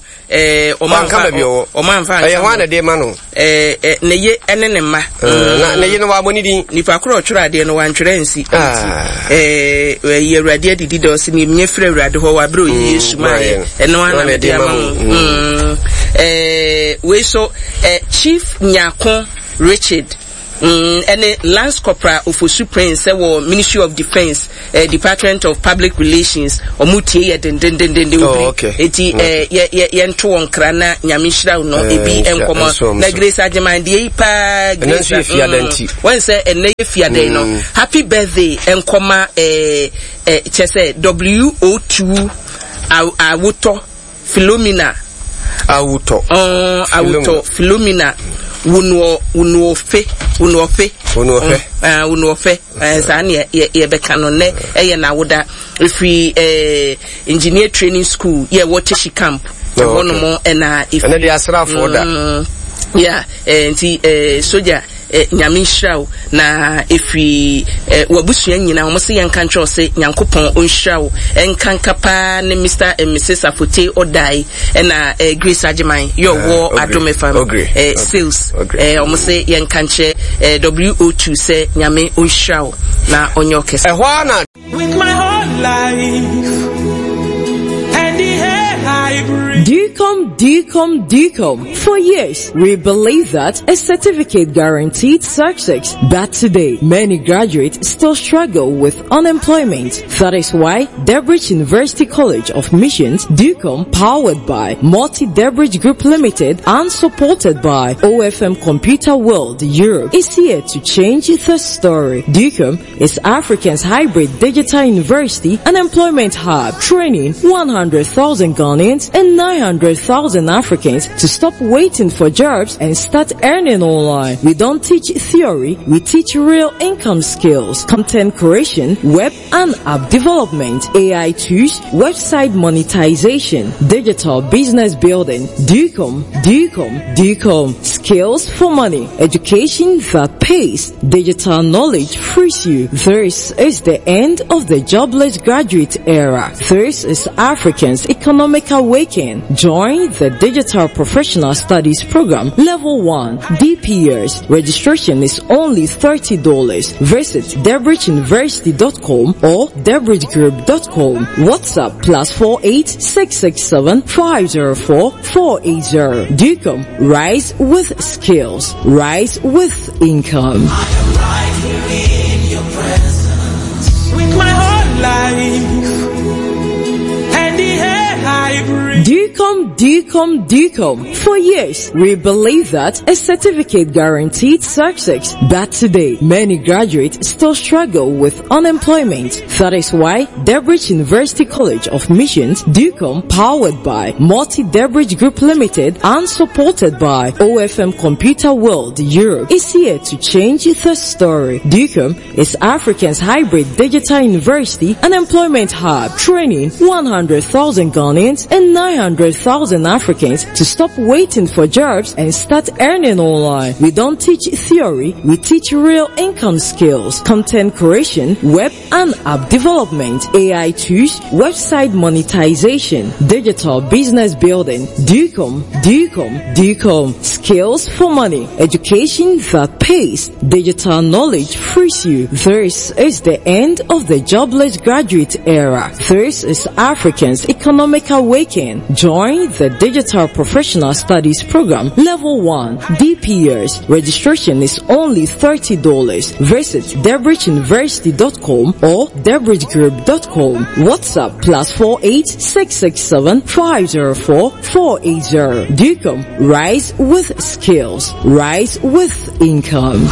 ɔmanfa baabi ɔwɔ ɔmanfa. Ɛyɛ hɔ a na de ma no. Ɛɛ ne ye ɛne ne mma. Na ne ye no wabɔ ne din. Nipa koro ɔtwerɛ adeɛ no wantwerɛ nsi. Ɛɛ ɛyɛ Awurade adidi dɛ ɔsi ne emie firi Awurade hɔ wabere oyi Yesu maa yɛ ɛno ana mede ama mo. Ɛɛ wei so ɛɛ Chief Nyako Richard. Mm, ɛne Lance Corporal Ofosu Prince ɛwɔ Ministry of Defence, eh, Department of Public Relations. Ɔmo tie yɛ dendendenden. Oh, okay. Eti eh, yɛ yɛ yɛnto wɔn kra na Nyame nhyira wo no. Eh, Ebi nhyira- nkɔmɔ nso, na nso. Grace Agyeman deɛ yi paa. Ɛnɛ Grace nso yɛ Fiada mm, nti. wɔn sɛ ɛnɛ yɛ Fiada yi no. Mm. Happy birthday nkɔma eh, eh, kyɛ sɛ W O two Awotɔ Philomena. Awotɔ. Ɔn Awotɔ Philomena Wunuɔ Wunuofe Wunuɔfe. Wunuɔfɛ. Ah, Wunuɔfɛ. ɛɛ saa ne yɛ yɛbɛka no. Nnɛ ɛyɛ n'awoda. Efiri ɛɛ Engineer Training School yɛ wɔ Teshi Camp Oh, ɛhɔ nom ɛna efiri. Ɛnɛ de asraafoɔ da. Mm, yeah, eh, nti eh, soja, eh, Nyame nhyira wo na ɛfiri eh, wabusua nyinaa wɔn sɛ yɛnka nkyerɛ wo sɛ Nyankopɔn ɔnhyira wo. Ɛnkanka paa ne Mister and Missus Afote Ɔdae ɛna eh, Grace Agyeman yɛ ɔwɔ Ah, Adom F M Ogre. eh, sales. Ogre. eh, wɔn sɛ yɛnka nkyerɛ eh, W O two sɛ Nyame ɔnhyira wo na ɔnyɛ ɔkɛse. Ɛhɔ ara na With my whole life and the air I breathe. DUCOM, DUCOM, DUCOM. For years, we believe that a certificate guaranteed success. But today, many graduates still struggle with unemployment. That is why Debridge University College of Missions, DUCOM, powered by Multi Debridge Group Limited and supported by O F M Computer World Europe, is here to change the story. DUCOM is Africa's hybrid digital university and employment hub, training one hundred thousand Ghanaians and nine hundred thousand Africans to stop waiting for jobs and start earning online. We don't teach theory, we teach real income skills, content creation, web and app development, A I tools, website monetization, digital business building. DUCOM, DUCOM, DUCOM. Skills for money, education that pays, digital knowledge frees you. This is the end of the jobless graduate era. This is Africans' economic awakening. Join the Digital Professional Studies Program Level one D P S. Registration is only thirty dollars. Visit debridgeuniversity dot com or debridgegroup dot com. WhatsApp plus four eight six six seven five zero four four eight zero. DUCOM. Rise with skills. Rise with income. Right here in your presence. With my whole life and the air I breathe. DUCOM, DUCOM, DUCOM. For years, we believe that a certificate guaranteed success. But today, many graduates still struggle with unemployment. That is why Debridge University College of Missions, DUCOM, powered by Multi Debridge Group Limited and supported by O F M Computer World Europe, is here to change the story. DUCOM is Africa's hybrid digital university and employment hub, training one hundred thousand Ghanaians and nine hundred thousand Africans to stop waiting for jobs and start earning online. We don't teach theory, we teach real income skills, content creation, web and app development, A I tools, website monetization, digital business building. DUCOM, DUCOM, DUCOM. Skills for money, education that pays, digital knowledge frees you. This is the end of the jobless graduate era. This is Africans' economic awakening. Join the Digital Professional Studies Program Level one D P S. Registration is only thirty dollars. Visit debridgeuniversity dot com or debridgegroup dot com. WhatsApp plus four eight six six seven five zero four four eight zero. DUCOM. Rise with skills. Rise with income.